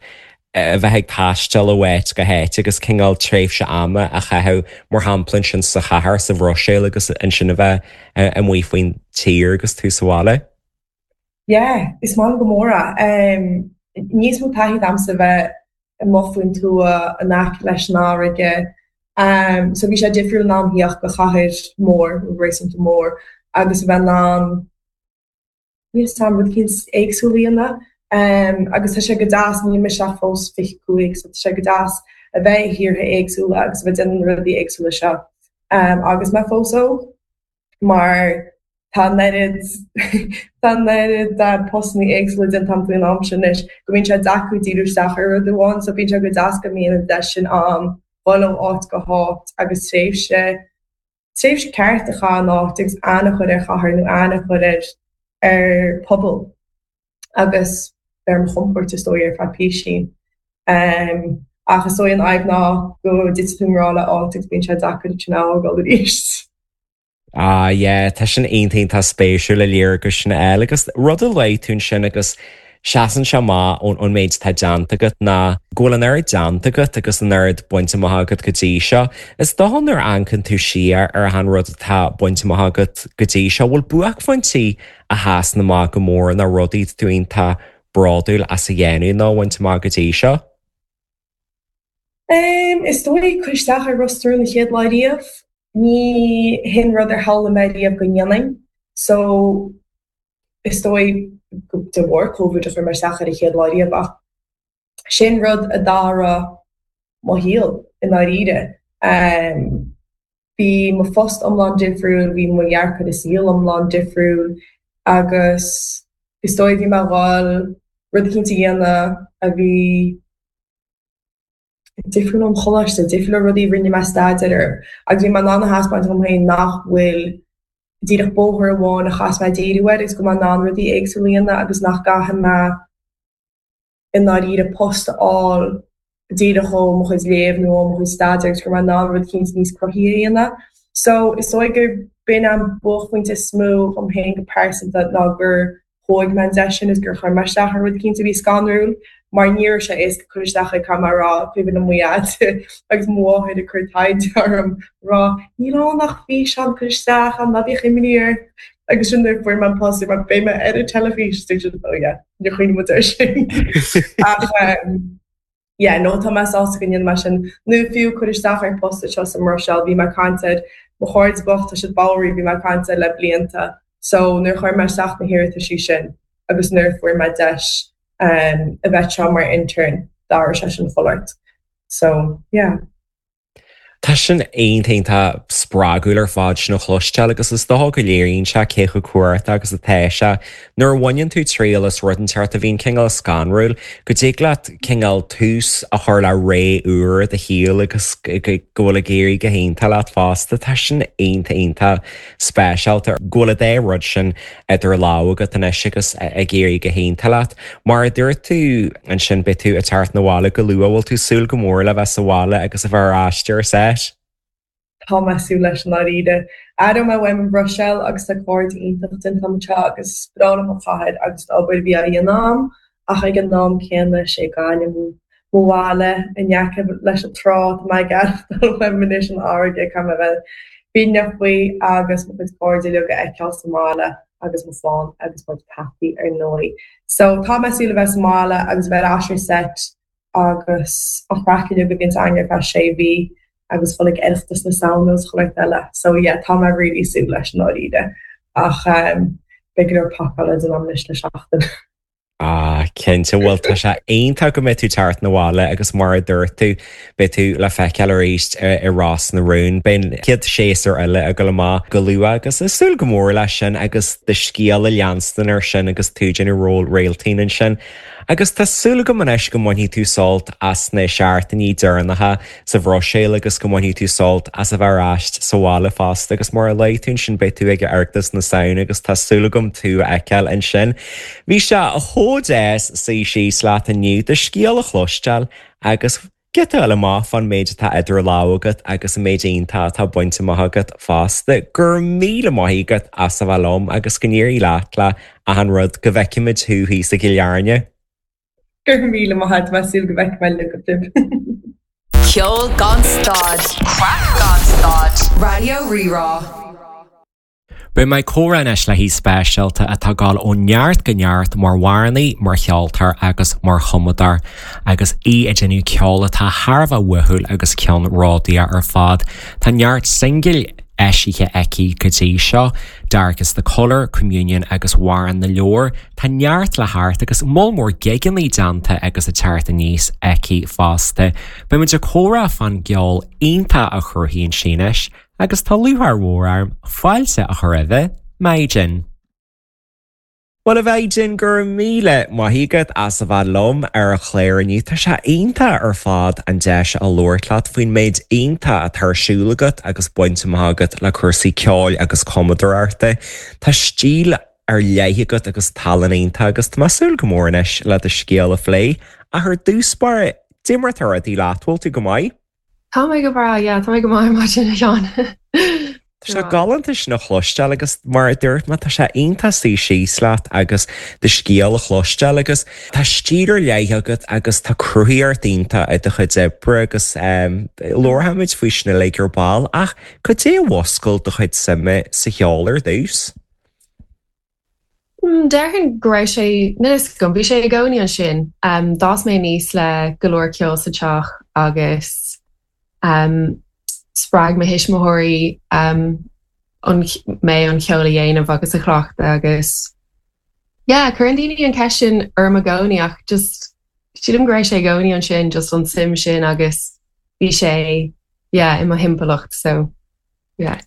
eh, a bheith ag taisteal ó áit go háit agus cineál tréimhse ama a chaitheamh mar shampla sin sa chathair sa Bhruiséil agus ansin a bheith eh, amuigh faoin tír agus tú sa bhaile. Yeah, is maith go mór é. Um, níos mó taithí agamsa bheith amuigh faoin tuath in aice leis an fharraige. Um, so bhí sé difriúil in ann theacht go chathair mór, réasúnta mór, agus a bheith in ann níos am rud éicint éagsúil a dhéanamh. Um, agus tá sé go deas níl mise ach fós fiche cúig, so tá sé go deas a bheith i thíortha éagsúla agus a bheith déanamh na rudaí éagsúla seo. Um, agus mé fós óg mar tá an oiread tá an oiread postanna éagsúla déanta agam faoin am sin anois go mbíonn sé deacair díriú isteach ar rud amháin, so bíonn sé go deas go mbíonn an deis sin ann dul ó áit go háit agus tréimhse tréimhse ceart a chaitheamh in áit agus aithne a chur ar chathair nó aithne a chur ar ar pobal agus ar mo chompord is dóigh ar feadh píosín. Um, ach is dóigh an fhadhb ná go dtiteann tú i ngrá le áit agus bíonn sé deacair sin a fhágáil arís. Ah yeah, tá sin iontach tá spéisiúil le léargas sin eile agus rud a luaigh tú sin agus seasann sé amach ón ón méid atá déanta agat ná go bhfuil an oiread déanta agat agus an oiread bainte amach agat go dtí seo. Is dócha nuair a amharcann tú siar ar an rud atá bainte amach agat go dtí seo, bhfuil buaicphointí a sheasann amach go mór na rudaí tú iontach bródúil as a dhéanamh nó bainte amach go dtí seo? Um, is dóigh cur isteach ar Ros na Rún an chéad lá riamh, ní hin rud ar shamhlaigh mé riamh go ndéanfainn. So is dóigh de bharr COVID a chuir mé isteach ar an chéad lá riamh ach sin rud a d'athraigh mo shaol i ndáiríre. Um, bhí mo phost iomlán difriúil, bhí mo dhearcadh i saol iomlán difriúil agus is dóigh bhí mé ag dul rud éicint a dhéanamh a bhí difriúil ón choláiste, difriúil le rudaí rinne mé staidéar orthu. Agus bhí mé in ann a thaispeáint dom féin nach bhfuil díreach bóthar amháin a chaithfidh mé díriú air agus go mbeidh in ann rudaí éagsúla a dhéanamh agus nach gcaithfidh mé i ndáiríre post a fháil díreach ó mo chuid léamh nó ó mo chuid staidéar agus go mbeidh in ann rud éicint níos cruthaithí a dhéanamh. So is dóigh gur b'in an buaicphointe is mó dom féin go pearsanta ná gur thóg mé an deis sin is gur chuir mé isteach ar rud éicint a bhí scanrúil mar ní raibh sé éasca cur isteach ag caithfidh mé a rá cuimhin liom mo dhaid agus mo mháthair ag cur taighde orm rá níl ann ach físeán cur isteach an ná bíodh imní ort agus sin nuair a fuair mé an post mar beidh mé ar an teilifís dúirt oh yeah níor chuimhnigh muid air sin ach um, yeah, no tá mé sásta go ndéan mé sin nó fiú cur isteach ar post seo sa mBruiséil bhí mé ag caint air mo chairde bocht tá siad bodhraithe bhí mé ag caint air le blianta so nuair chuir mé isteach na hiarrataisí sin agus nuair fuair mé deis um, a bheith seo mar intern d'athraigh sé sin chulart. So yeah. Tá sin iontach spreagúil ar fad sin a chloisteáil agus is dócha go léiríonn sé cé chomh cumhachtach agus atá sé. Nuair a bhaineann tú triail as rud inteacht a bhíonn cineál scanrúil, go dtig leat cineál tús a chur le ré úr i do shaol agus go bhfuil ag éirí go hiontach leat fosta. Tá sin iontach iontach speisialta go bhfuil an dá rud sin idir lámha agat anois agus ag éirí go hiontach leat. Mar a dúirt tú ansin beidh tú ag teacht 'na bhaile go luath, bhfuil tú súil go mór le bheith sa bhaile agus a bheith ar ais ar set? Tá mé ag súil leis i ndáiríre. Aireoidh mé uaim an Bhruiséil agus tá cairde iontach déanta agam anseo agus is breá liom an chathair agus an obair a bhí á dhéanamh agam ach ag an am céanna is é Gaillimh mo bhaile in aice leis an trá tá mé ag aireachtáil uaim anois an fharraige caithfidh mé bheith fírinneach faoi agus mo chuid cairde uilig a fheiceáil sa mbaile agus mo chlann agus mo peataí ar ndóigh. So tá mé ag súil le bheith sa mbaile agus bheith ar ais ar set agus an chraic uilig a bhíonns againn ar feadh sé mhí agus dul ag Oireachtas na Samhna agus chuile shórt eile. So yeah, tá mé really súil leis i ndáiríre ach um, beidh go leor pacála le déanamh anois le seachtain. Ah, cinnte bhfuil tá sé iontach go mbeidh tú teacht 'na bhaile agus mar a dúirt tú beidh tú le feiceáil arís i Ros na Rún. Beidh an chéad séasúr eile ag dul amach go luath agus ag súil go mór leis sin agus do scéal a leanstan ar sin agus tú ag déanamh ról Réaltín ansin. Agus tá súil agam anois go mbainfidh tú sult as na seachtainí deireanacha sa Bhruiséil agus go mbainfidh tú sult as a bheith ar ais sa bhaile fosta agus mar a luaigh tú ansin beidh tú ag Oireachtas na Samhna agus tá súil agam tú a fheiceáil ansin. Bhí sé chomh deas suí síos leat inniu do scéal a chloisteáil agus giota a fháil amach fán méid atá idir lámha agat agus an méid iontach atá bainte amach agat fosta. Go raibh míle maith agat as a bheith liom agus go n-éirí leat le achan rud go bhfeicfimid thú thíos i gCill Airne. Go raibh míle maith agat tá súil go bhfeicfidh mé libh. Ceol gan stad, Craic gan stad, Raidió Rí-Rá. Beidh mé ag comhrá anois le haoi speisialta atá ag dul ó neart go neart mar amhránaí, mar cheoltóir agus mar chumadóir, agus í ag déanamh ceol atá thar a bheith uathúil agus ceannródaíoch ar fad. Tá neart singil eisithe aici go dtí seo, Dark is the Colour, Communion agus Amhrán na Leabhar, Tá neart le theacht agus moll mór gigeanna déanta agus ag teacht aníos aici fosta. Beimid ag comhrá fán gceol iontach a chruthaíonn sí anois, agus tá lúcháir mhór orm fáilte a chur roimh Maighdean. Well a Mhaighdean go raibh míle maith agat as a bheith liom ar an chlár inniu. Tá sé iontach ar fad an deis a labhairt leat faoin méid iontach atá ar siúl agat agus bainte amach agat le cúrsaí ceoil agus cumadóireachta. Tá stíl ar leith agat agus tallann iontach agus tá mé ag súil go mór anois le do scéal a phlé. Ach ar dtús báire, cad é mar atá rudaí leat bhfuil tú go maith? Tá mé go breá, yeah, tá mé go maith maidin a Sheáin. Tá sé galánta sin a chloisteáil agus mar a dúirt mé tá sé iontach suí síos leat agus do scéal a chloisteáil agus tá stíl ar leith agat agus tá cruthaíocht iontach i do chuid oibre agus um, labharfaimid faoi sin uilig ar ball ach cad é a mhúscail do chuid suime sa cheol ar dtús. Mm, Déarfainn go raibh sé níl a fhios agam, bhí sé i gcónaí ansin. Um, D'fhás mé aníos le go leor ceol sa teach agus um, spreag mo thuismitheoirí um, an, mé an ceol a dhéanamh agus a chleachtadh agus yeah, cuireann daoine an cheist sin orm i gcónaí ach just sílim go raibh sé i gcónaí ansin just an suim sin agus bhí sé yeah, i mo thimpeallacht so yeah.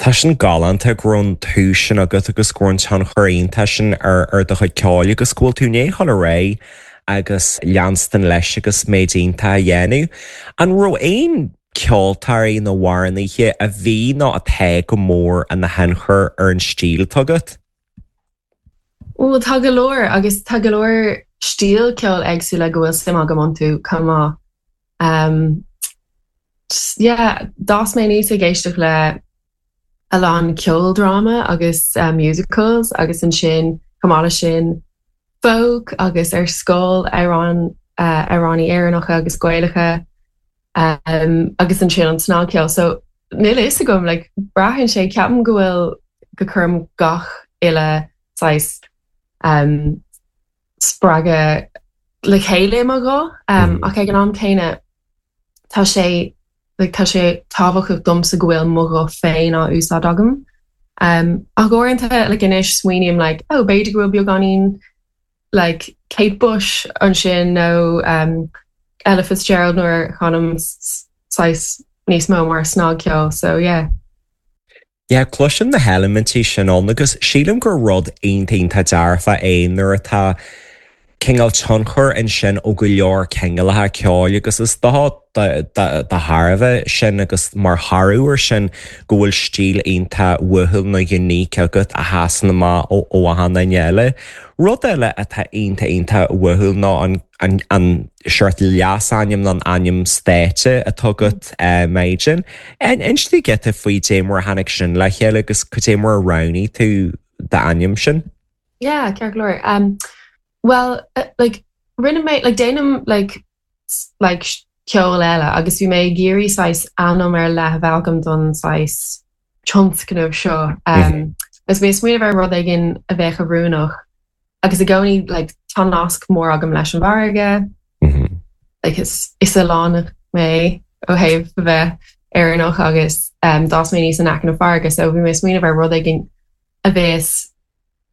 Tá sin galánta go raibh an tús sin agat agus go raibh an tionchar iontach sin ar ar do chuid ceoil agus go bhfuil tú ag dul ar aghaidh agus leanstan leis agus méid iontach a dhéanamh. An raibh aon ceoltóirí nó amhránaithe a bhí nó atá go mór ina thionchar ar an stíl atá agat? Well tá go leor agus tá go leor stíl ceol éagsúla go bhfuil suim agam iontu chomh maith. Um, yeah, d'fhás mé aníos ag éisteacht le a lán ceoldráma agus uh, musicals agus ansin chomh maith leis sin folk agus ar scoil amhrán uh, amhránaí Éireannacha agus Gaelacha um, agus ansin an snagcheol. So níl a fhios agam like, braitheann sé ceapaim go bhfuil go gcuirim gach uile saghas um, spreagadh le chéile mo ghuth um, mm. ach ag an am céanna tá sé like, tá sé tábhachtach domsa go bhfuil mo ghuth féin á úsáid agam. Um, ach uaireanta like, anois smaoiním like, oh, b'fhéidir go bhfuil beagáinín like, Kate Bush ansin nó um, Ella Fitzgerald nuair chanaim saghas níos mó mar snagcheol so yeah. Yeah, cloisim na heilimintí sin ann agus sílim gur rud iontach dearfa é nuair atá cineál tionchar ansin ó go leor cineálacha ceoil agus is dócha de thairbhe sin agus mar thoradh air sin go bhfuil stíl iontach uathúil nó unique agat a sheasann amach ó ó achan duine eile. Rud eile atá iontach iontach uathúil ná an an an seort leasainm nó an ainm stáitse atá agat Maighdean. Inis dúinn giota faoi dé mar a tháinig sin le chéile agus cad é mar a roghnaigh tú d'ainm sin? Yeah, ceart go leor. Um, well, uh, like rinne mé like déanaim like like ceol eile agus bhí mé ag iarraidh saghas ainm ar leith a bheith agam don saghas tionscnamh seo. Um, agus mé smaoineamh ar rud éigin a bheadh oiriúnach agus i gcónaí like, tá nasc mór agam leis an bhfarraige. Mm -hmm. like, is, is oileánach mé ó thaobh a bheith Éireannach agus um, d'fhás mé aníos in aice na farraige, so bhí mé smaoineamh ar rud éigin a bheas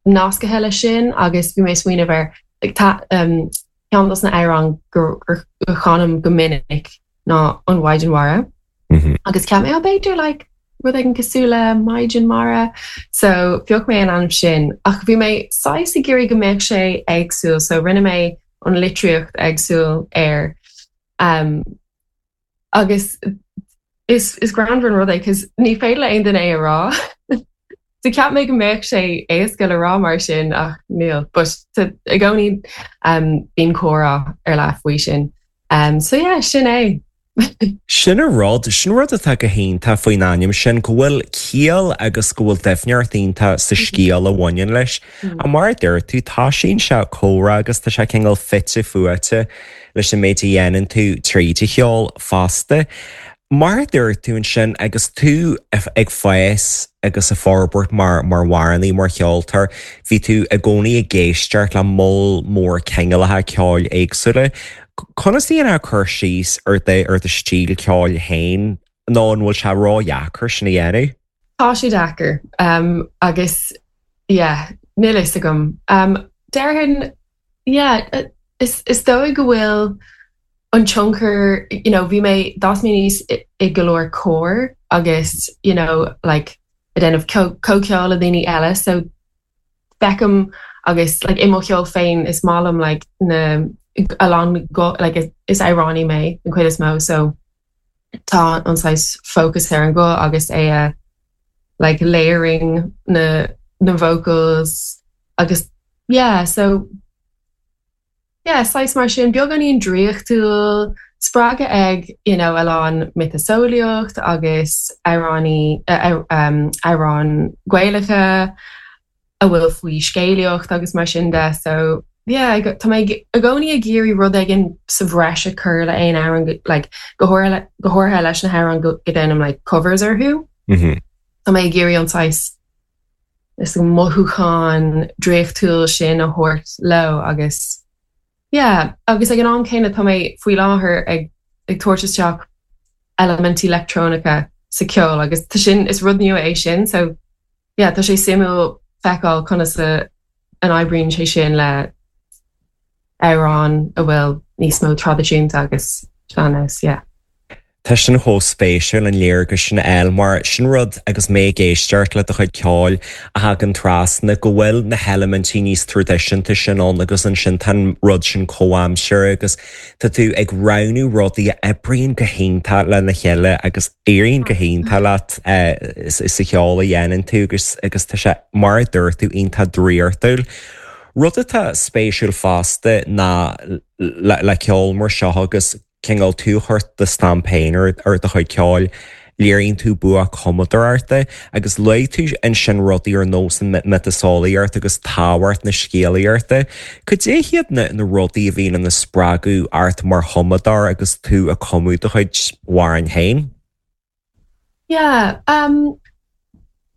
nasctha leis sin agus bhí mé smaoineamh ar like, tá um, ceann dos na hamhráin gur gur chanaim go minic ná an Mhaighdean Mhara. Mm -hmm. Agus cheap mé b'fhéidir like, rud éigin cosúil le Maighdean Mara, so phioc mé an ainm sin ach bhí mé saghas ag iarraidh go mbeadh sé éagsúil, so rinne mé an litríocht éagsúil air. Um, agus is is greannmhar an rud é cos ní féidir le aon duine é a rá. So cheap mé go mbeadh sé éasca le rá mar sin ach níl, but i gcónaí um, bíonn comhrá ar leith faoi sin. Um, so yeah, sin é. Sin an rud, sin rud atá go hiontach faoin ainm sin go bhfuil ciall agus go bhfuil doimhneacht iontach sa scéal a bhaineann leis. A mar a deir tú tá sin se comhrá agus tá sé cineál fite fuaite leis an méid a dhéanann tú tríd an cheol fosta. Mar a dúirt tú ansin agus tú ag fás agus ag forbairt mar mar amhránaí mar cheoltóir, bhí tú i gcónaí ag éisteacht le moll mór cineálacha ceoil éagsúla. Conas a dhéanfá cur síos ar do ar do stíl ceoil féin nó an bhfuil sé ródheacair sin a dhéanamh? Tá sé deacair um, agus yeah, níl fhios agam. Um, Déarfainn yeah, is, is dóigh go bhfuil an tionchar you know, bhí mé d'fhás mé aníos i go leor cór agus you know, like, ag déanamh comhcheol le daoine eile so feicim agus like, i mo cheol féin is maith liom like, na a lán go like, is, is amhránaí mé an chuid is mó so tá an saghas focus ar an guth agus é a like layering na na vocals agus yeah so yeah saghas mar sin beagáinín draíochtúil spreagtha ag you know a lán miotaseolaíocht agus amhráin uh, um, amhráin Gaelacha a bhfuil faoi scéalaíocht agus mar sin de so yeah tá mé i gcónaí ag iarraidh rud éigin sa bhreis a chur le aon amhrán like go háirithe go háirithe leis na hamhráin go go déanaim like covers orthu. Mm -hmm. Tá mé ag iarraidh an saghas is an mothúchán draíochtúil sin a thabhairt leo agus yeah, agus ag an am céanna tá mé faoi láthair ag ag tabhairt isteach eilimintí leictreonacha sa ceol agus tá sin is rud nua é sin so yeah, tá sé suimiúil feiceáil conas a an oibríonn sé sin le amhrán a bhfuil níos mó traidisiúnta agus sean-nós, yeah. Tá sin chomh spéisiúil an léargas sin eil mar sin rud agus mé ag éisteacht le do chuid ceoil a thagann trasna go bhfuil na heilimintí níos traidisiúnta sin ann agus ansin tá an rud sin comhaimseartha agus tá tú ag roghnú rudaí a oibríonn go hiontach lena chéile agus éiríonn go hiontach leat eh, sa cheol a dhéanann tú agus agus tá sé mar a dúirt tú iontach draíochtúil. Rud atá spéisiúil fosta ná le, le ceol mar seo agus cineál tú ag cur do stampa féin ar ar do chuid ceoil, léiríonn tú bua cumadóireachta agus luaigh tú ansin rudaí ar nós an miotaseolaíocht agus tábhacht na scéalaíochta. Cad é hiad na, na rudaí a bhíonn ina spreagadh ort mar chumadóir agus tú ag cumadh do chuid amhrán féin? Yeah, um,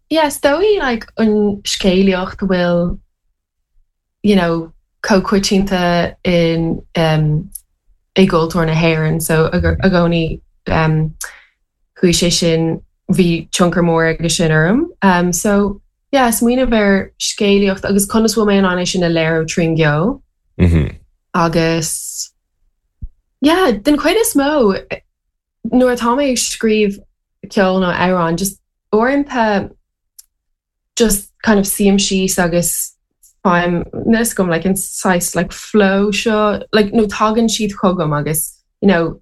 yeah, is dóigh like an scéalaíocht bhfuil you know, comhchoitianta in um, i gcultúr na hÉireann, so i gcónaí um, chuaigh sé sin bhí tionchar mór aige sin orm. Um, so yeah, smaoineamh ar scéalaíocht agus conas bhfuil mé in ann é sin a léiriú trín gceol. Mm -hmm. Agus yeah, den chuid is mó Nuair atá mé ag scríobh ceol nó amhrán just uaireanta just kind of suím síos agus faighim níos gom like an saghas like flow seo like nó tagann siad chugam agus you know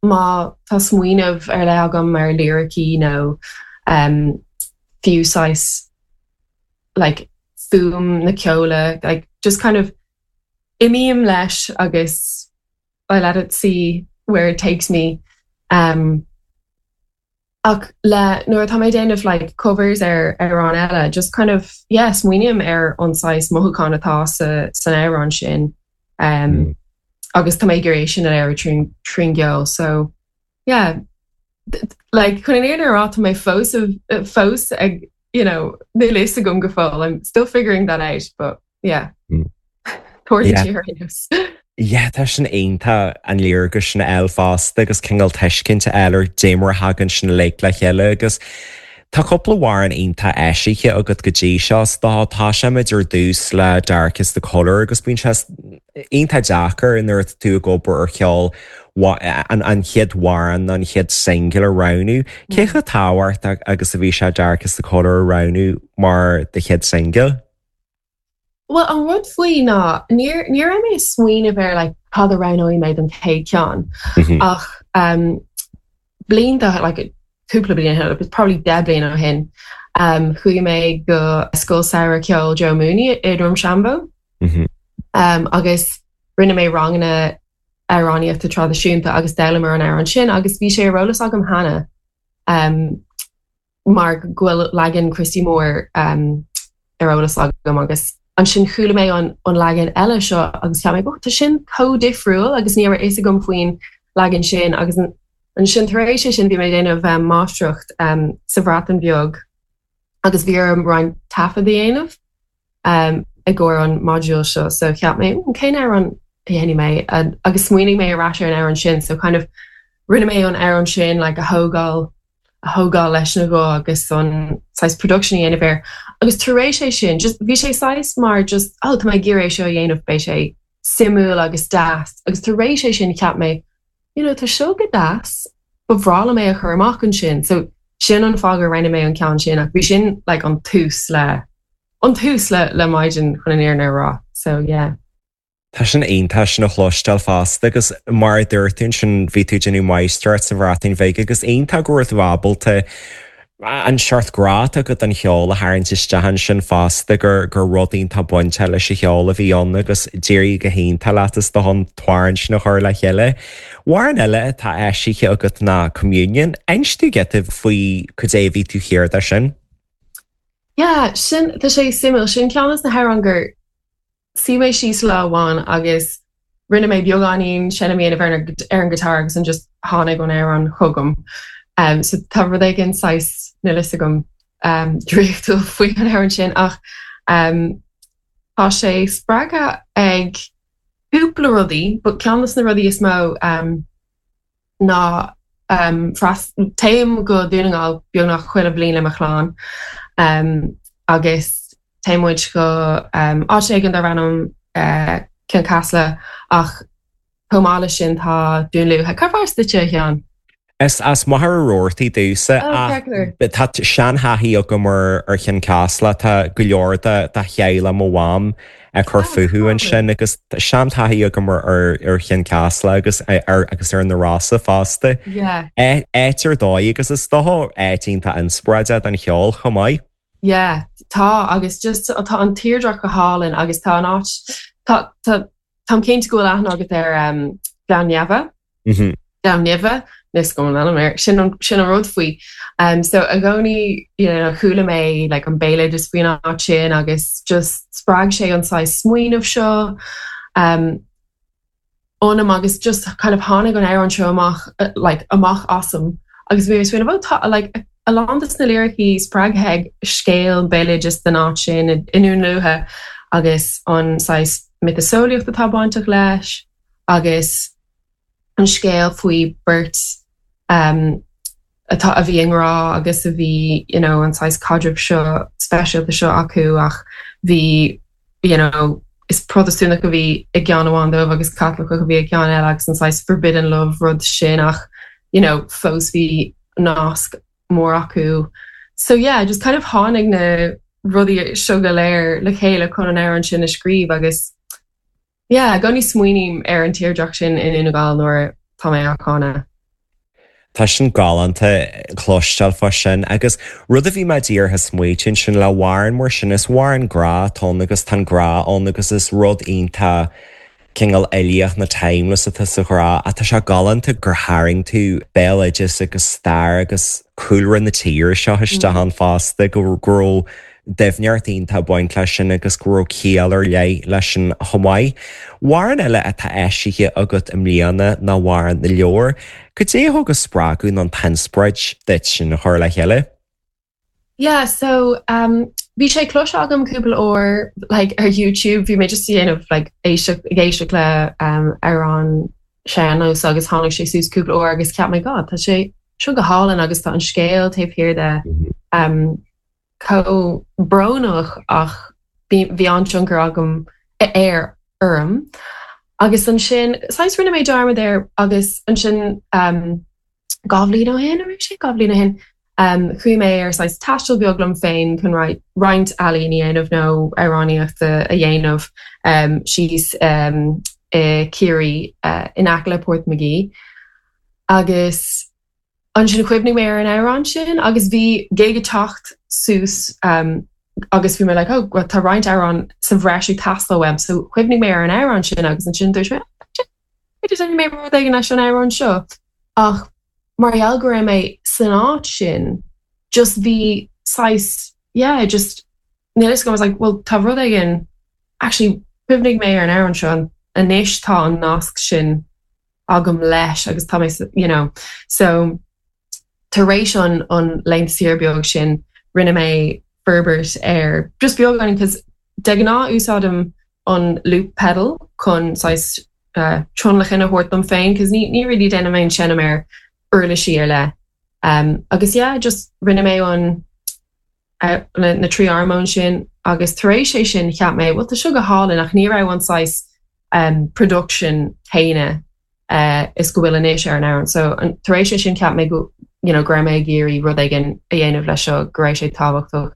má tá smaoineamh ar leith agam mar liricí nó um, fiú saghas like fuaim na ceola like just kind of imím leis agus I let it see where it takes me um, ach le nuair atá mé déanamh like covers ar amhrán eile just kind of yeah smaoiním ar an saghas mothúchán atá sa san amhrán sin um, mm. agus tá mé gur é sin an air trín trín gceol so yeah like chun an fhírinne a rá tá mé fós fós ag you know níl a fhios agam go fóill I'm still figuring that out but yeah mm. Yeah. Yeah, tá sin iontach an léargas sin eil fosta agus cineál tuiscint eile ar cad é mar a thagann sin le le chéile agus Tá cúpla amhrán iontach eisithe agat go dtí seo tá tosóimid ar dtús le Dark is the Colour agus bíonn sé iontach deacair nuair tú ag obair ar cheol an an chéad amhrán an chéad single a roghnú. Cé chomh tábhachtach agus a bhí sé Dark is the Colour a roghnú mar do chéad single? Well an rud faoi ná níor ní raibh mé smaoineamh ar like, cad a roghnóidh mé don chéad cheann mm-hmm. ach um, blianta like, cúpla bliain probably deich bliain ó shin um, chuaigh mé go Scoil Samhraidh Ceoil Joe Mooney i Drumshanbo mm -hmm. um, agus rinne mé ranganna amhránaíochta traidisiúnta agus d'fhoghlaim an amhrán sin agus bhí sé ar eolas agam cheana um, mar go bhfuil leagan Christy Moore um, ar eolas agam agus ansin chuala mé an an leagan eile seo agus cheap mé tá sin chomh difriúil agus ní raibh a fhios agam faoin leagan sin agus ansin tar éis sin bhí mé déanamh um, máistreacht um, sa Bhreatain Bheag agus bhí orm roinnt taifead a dhéanamh um, i gcomhair an module seo so cheap mé mm, cén amhrán a dhéanfaidh mé agus smaoinigh mé ar ais ar an amhrán sin so kind of rinne mé an amhrán sin like, a thógáil a thógáil leis na go agus an saghas production dhéanamh air. agus tar éis é sin just bhí sé saghas mar just oh, tá mé ag iarraidh seo dhéanamh beidh sé suimiúil agus deas agus tar éis é sin cheap mé you know, tá seo go deas ba bhreá liom é a chur amach ansin so sin an fáth gur roghnaigh mé an ceann sin ach bhí sin like, an tús le an tús le le Maighdean chun an fhírinne a rá so yeah. Tá sin iontach sin a chloisteáil fosta agus mar dúirt tú sin bhí tú déanamh máistreacht sa Bhreatain Bheag agus iontach go raibh tú ábalta an seort grá go an cheol a tharraingt isteach sin fosta gur gur rud iontach bainte leis an cheol a bhí ann agus d'éirigh go hiontach leat is do an t-amhrán sin a chur le chéile. Amhrán eile atá eisithe agat ná Communion, Inis dúinn giota faoi cad é bhí tú thiar de sin? Yeah, sin tá sé suimiúil sin ceann de na hamhráin gur shuigh mé síos lá amháin agus rinne mé beagáinín seinm ar ar an guitar agus an just tháinig an amhrán chugam. Um, so tá rud éigin saghas níl a fhios agam um, draíochtúil faoi an amhrán sin ach um, tá sé spreagtha ag cúpla rudaí, but ceann de na rudaí is mó um, ná um, téim go Dún na nGall beagnach chuile bhliain le mo chlann um, agus téann muid go um, áit éigin darb ainm uh, Cionn Caslach ach chomh maith leis sin tá Dún Lúiche Cad as duitse a Sheáin? Is as Machaire Rabhartaigh domhsa tá seantaithí agam ar ar Chionn Caslach tá go leor de de theaghlach mo mham ag cur fúthu ansin agus seantaithí agam ar ar Chionn Caslach agus ar agus ar na Rosa fosta. Áit ar dóigh agus is dócha áit iontach inspioráideach don cheol chomh maith. Yeah, tá agus just tá an tírdhreach go hálainn agus tá an áit tá tá Táim cinnte go bhfuil aithne agat ar um, Gleann Neamha. Mm -hmm. Gleann Nimhe nis go an air sin an sin an rud faoi. Um, so i gcónaí you know, chuala mé like, an béaloideas faoin áit sin agus just spreag sé an saghas smaoineamh seo. Um, ionam agus just kind of tháinig an amhrán seo amach uh, like, amach asam agus bhí smaoineamh tá like, a lán de na liricí spreagtha ag scéal béaloideas den áit sin i nDún Lúiche agus an saghas miotaseolaíocht atá bainteach leis agus an scéal faoi beirt um, atá a bhí i ngrá agus a bhí you know, an saghas caidreamh seo speisialta seo acu ach bhí you know, is Protastúnach a bhí i gceann amháin dóibh agus Caitliceach a bhí i gceann eile agus an saghas forbidden love rud sin ach you know fós bhí nasc mór acu. So yeah, just kind of tháinig na rudaí seo go léir le chéile chun an amhrán sin a scríobh agus yeah, go smaoiním ar an tírdhreach sin in Dún na nGall nuair tá mé á chanadh. Tá sin galánta cloisteáil fá sin agus rud a bhí mé díreach ag smaoineamh sin le hamhrán mar sin is amhrán grá atá ann agus tá grá ann agus is rud iontach cineál uilíoch nó timeless atá sa ghrá ach tá sé galánta gur tharraing tú béaloideas agus stair agus cúlra na tíre seo isteach ann fosta go raibh doimhneacht iontach ag baint leis sin agus go raibh ciall ar leith leis sin chomh maith. Amhrán eile atá eisithe agat i mbliana ná Amhrán na Leabhar, Cad é a thug an spreagadh nó an t-inspioráid duit sin a chur le chéile? Yeah, so um, bhí sé cloiste agam cúpla uair like, ar YouTube, bhí mé just déanamh like, éisteacht ag éisteacht le um, amhrán sean-nós agus tháinig sé suas cúpla uair agus cheap mé God, tá sé seo go hálainn agus tá an scéal taobh thiar de um, chomh brónach ach bhí an-tionchar agam air orm. Agus ansin saghas rinne mé dearmad air agus ansin um, dhá bhliain ó shin ar sé dhá bhliain ó shin um, chuaigh mé ar saghas taisteal beag liom féin chun roinnt ealaín a dhéanamh nó amhránaíochta a dhéanamh um, síos um, i Ciarraí uh, in aice le Portmagee. Agus ansin chuimhnigh mé ar an amhrán sin agus bhí gig ag teacht suas um, agus bhí mé like, oh, well, tá roinnt amhrán sa bhreis ag teastáil uaim, so chuimhnigh mé ar an amhrán sin agus ansin dúirt mé mé rud éigin leis an amhrán seo. Ach mar gheall go raibh mé san áit sin, just bhí saghas yeah, just níl I was like, well tá rud éigin actually chuimhnigh mé ar an amhrán seo anois tá an nasc sin agam leis agus tá mé you know so tar éis an an laethanta saoire beag sin rinne mé forbairt ar just beagán because de ghnáth úsáidim an loop pedal chun saghas uh, tionlacan a thabhairt dom féin, cos ní ní really déanaim aon seinm ar uirlisí ar leith. Um, agus yeah, just rinne mé an uh, na, na trí armóin sin agus tar éis é sin cheap mé, well tá seo go hálainn ach ní raibh an saghas um, production céanna uh, is go bhfuil anois ar an amhrán. So an, tar éis é sin cheap mé go you know, go raibh mé ag iarraidh rud éigin a dhéanamh leis seo go raibh sé tábhachtach.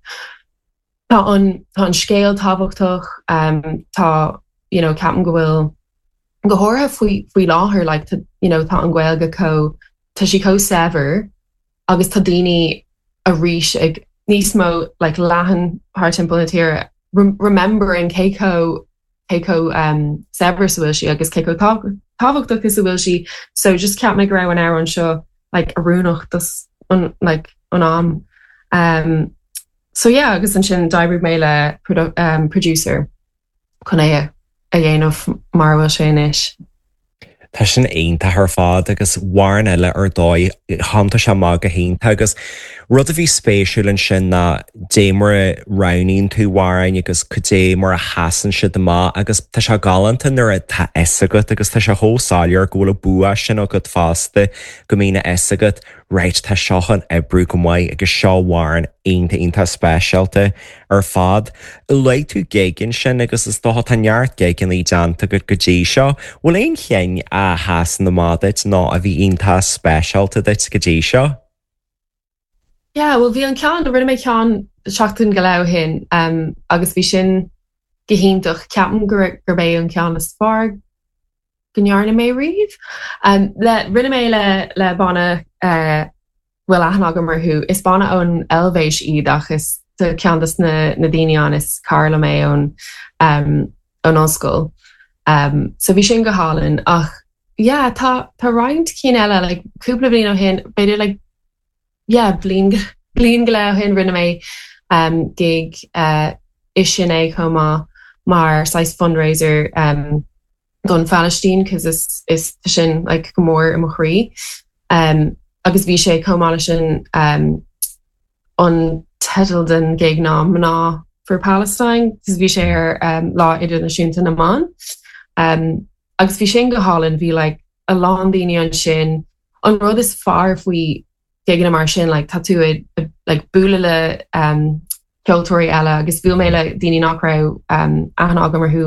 Tá an tá an scéal tábhachtach um, tá you know, ceapaim go bhfuil go háirithe faoi faoi láthair like, tá, you know, tá an Ghaeilge chomh tá sí chomh saibhir agus tá daoine arís ag níos mó like, leathan thar timpeall na tíre remembering cé chomh cé chomh um, saibhir bhfuil sí agus cé chomh tábhachtach is a bhfuil sí so just cheap mé go raibh an amhrán seo like oiriúnach dos an like an am um, so yeah agus ansin d'oibrigh mé le produ um, producer chun é a dhéanamh mar bhfuil sé anois. Tá sin iontach ar fad agus amhrán eile ar dóigh thanta sé go hiontach agus rud a bhí spéisiúil ansin ná dé mar a roghnaíonn tú amhráin agus cad é mar a sheasann siad amach agus tá sé galánta nuair atá a fhios agat agus tá sé chomh soiléir go bhfuil an bua sin agat fosta go mbíonn a fhios agat right tá seo chun oibriú go maith agus seo amhrán iontach iontach speisialta ar fad. Luaigh tú gig ansin agus is dócha tá neart gigeanna déanta agat go dtí seo, bhfuil aon cheann a sheasann amach duit nó a bhí iontach speisialta duit go dtí seo? Yeah, well bhí an ceann rinne mé ceann seachtain go leith ó shin um, agus bhí sin go hiontach ceapaim gur gurb é an ceann is fearr go ndearna mé riamh. Um, le rinne mé le le banna uh, bhfuil aithne agam orthu is banna ón Eilvéis iad ach is ceann de na, na daoine ann is cara liom é ón um, ón ollscoil. Um, so bhí sin go hálainn ach yeah, tá tá roinnt cinn eile like, cúpla bliain ó shin b'fhéidir like, yeah, bliain bliain go leith ó shin rinne mé um, gig uh, is sin é chomh maith mar saghas fundraiser um, don Phalaistín cos is is sin like, go mór i mo chroí. Um, agus bhí sé chomh maith sin um, an teideal den gig ná mná for Palestine, cos bhí sé ar um, lá idirnáisiúnta na mban. Um, agus bhí sin go hálainn bhí like, a lán daoine ansin an rud is fearr faoi gigeanna mar sin like, tá tú ag like, bualadh le um, ceoltóirí eile agus bhuail mé le daoine nach raibh um, aithne agam orthu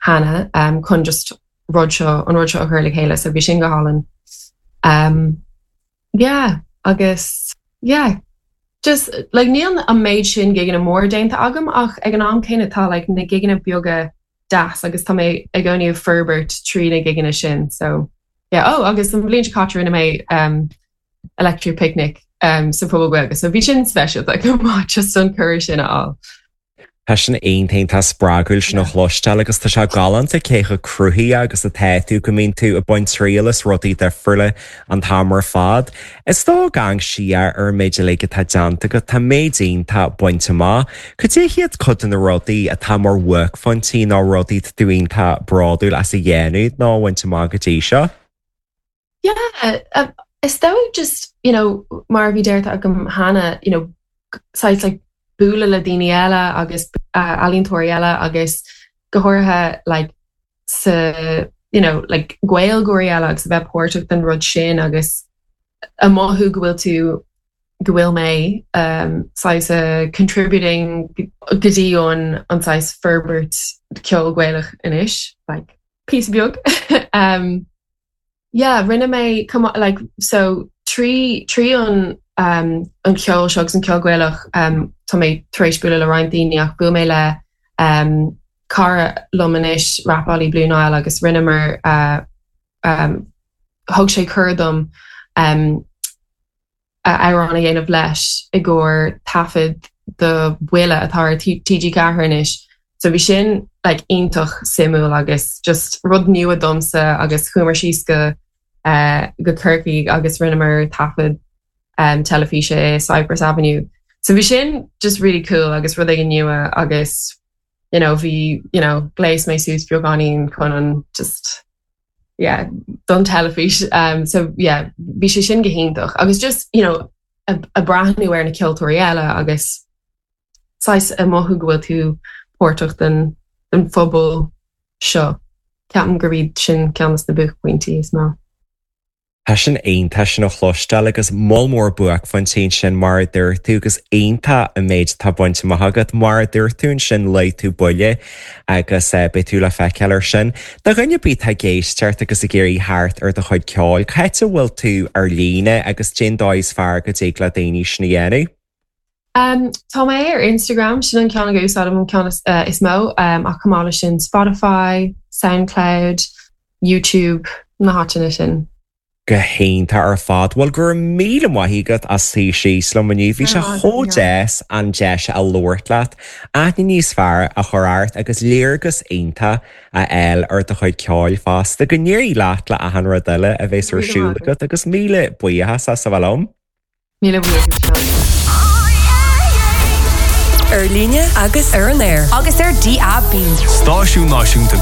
cheana um, chun just rud seo an rud seo a chur le chéile, so bhí sin go hálainn. Um, Yeah agus yeah just like níl an méid sin gigeanna mór déanta agam ach ag an am céanna tá like na gigeanna beaga deas agus tá mé i gcónaí ag forbairt trí na gigeanna sin so yeah oh agus an bhliain seo caite rinne mé um, Electric Picnic um, sa Phuball Gaeilge so bhí sin speisialta go maith just an cuireadh sin a fháil. Tá sin iontach spreagúil sin a chloisteáil agus tá sé galánta cé chomh cruthaithe agus atá tú go mbíonn tú ag baint triail as rudaí difriúla an t-am ar fad. Is dóigh ag amharc siar ar an méid uilig atá déanta agat tá méid iontach bainte amach. Cad é hiad cuid de na rudaí atá mar bhuaicphointí nó rudaí tú iontach bródúil as a dhéanamh nó a bhaint amach go dtí seo? Yeah, uh, is dóigh just you know mar bhí deirte agam cheana you know saghas like bualadh le daoine eile agus uh, ealaíontóirí eile agus go háirithe like sa you know like Gaeilgeoirí eile agus a bheith páirteach den rud sin agus a mothú go bhfuil tú go bhfuil mé um, saghas uh, contributing go dtí an an saghas forbairt ceol Gaelach anois like píosa beag um, yeah rinne mé come like so trí trí an um, an ceol seo agus an ceol Gaelach um, tá mé tar éis bualadh le roinnt daoine ach bhuail mé le um, cara liom anois rapálaí Blue Nile agus rinneamar uh, um, thug sé cuireadh dom um, amhrán a dhéanamh leis i gcomhair taifead do Buile atá ar TG Ceathair anois. So bhí sin like, iontach suimiúil agus just rud nua domsa agus chuamar síos go uh, go Corcaigh agus rinneamar taifead um, teilifíse i Cypress Avenue. So bhí sin just really cool agus rud éigin nua agus you know, bhí you know, ghléas mé suas beagáinín chun an just yeah, don teilifís um, so yeah, bhí sé sin go hiontach agus just you know, a, a breathnú ar na ceoltóirí eile agus saghas a mothú go bhfuil tú páirteach den den phobal seo. Ceapaim gurb iad sin ceann de na buaicphointí is mó. Tá sin iontach sin a chloisteáil agus moll mór buaicphointí sin mar a dúirt tú agus iontach an méid atá bainte amach agat mar a dúirt tú ansin luaigh tú Buile agus eh, beidh tú le feiceáil ar sin. Do dhuine ar bith atá ag éisteacht agus ag iarraidh theacht ar do chuid ceoil, Cá háit a bhfuil tú ar líne agus cén dóigh is fearr go dtig le daoine sin a dhéanamh. Um, tá mé ar Instagram sin an ceann a úsáidim an ceann is, uh, is mó um, ach chomh maith leis sin Spotify, SoundCloud, YouTube na háiteanna sin. go hiontach ar fad, Bhuel go raibh míle maith agat as suí síos liom inniu, bhí sé chomh deas an deis a labhairt leat, aithne níos fearr a chur ort agus léargas iontach a fháil ar do chuid ceoil fosta, go n-éirí leat le achan rud eile a bheas ar siúl agat agus míle buíochas as a bheith liom. Míle buíochas. Ar líne agus ar an aer. Agus ar DAB. Stáisiún náisiúnta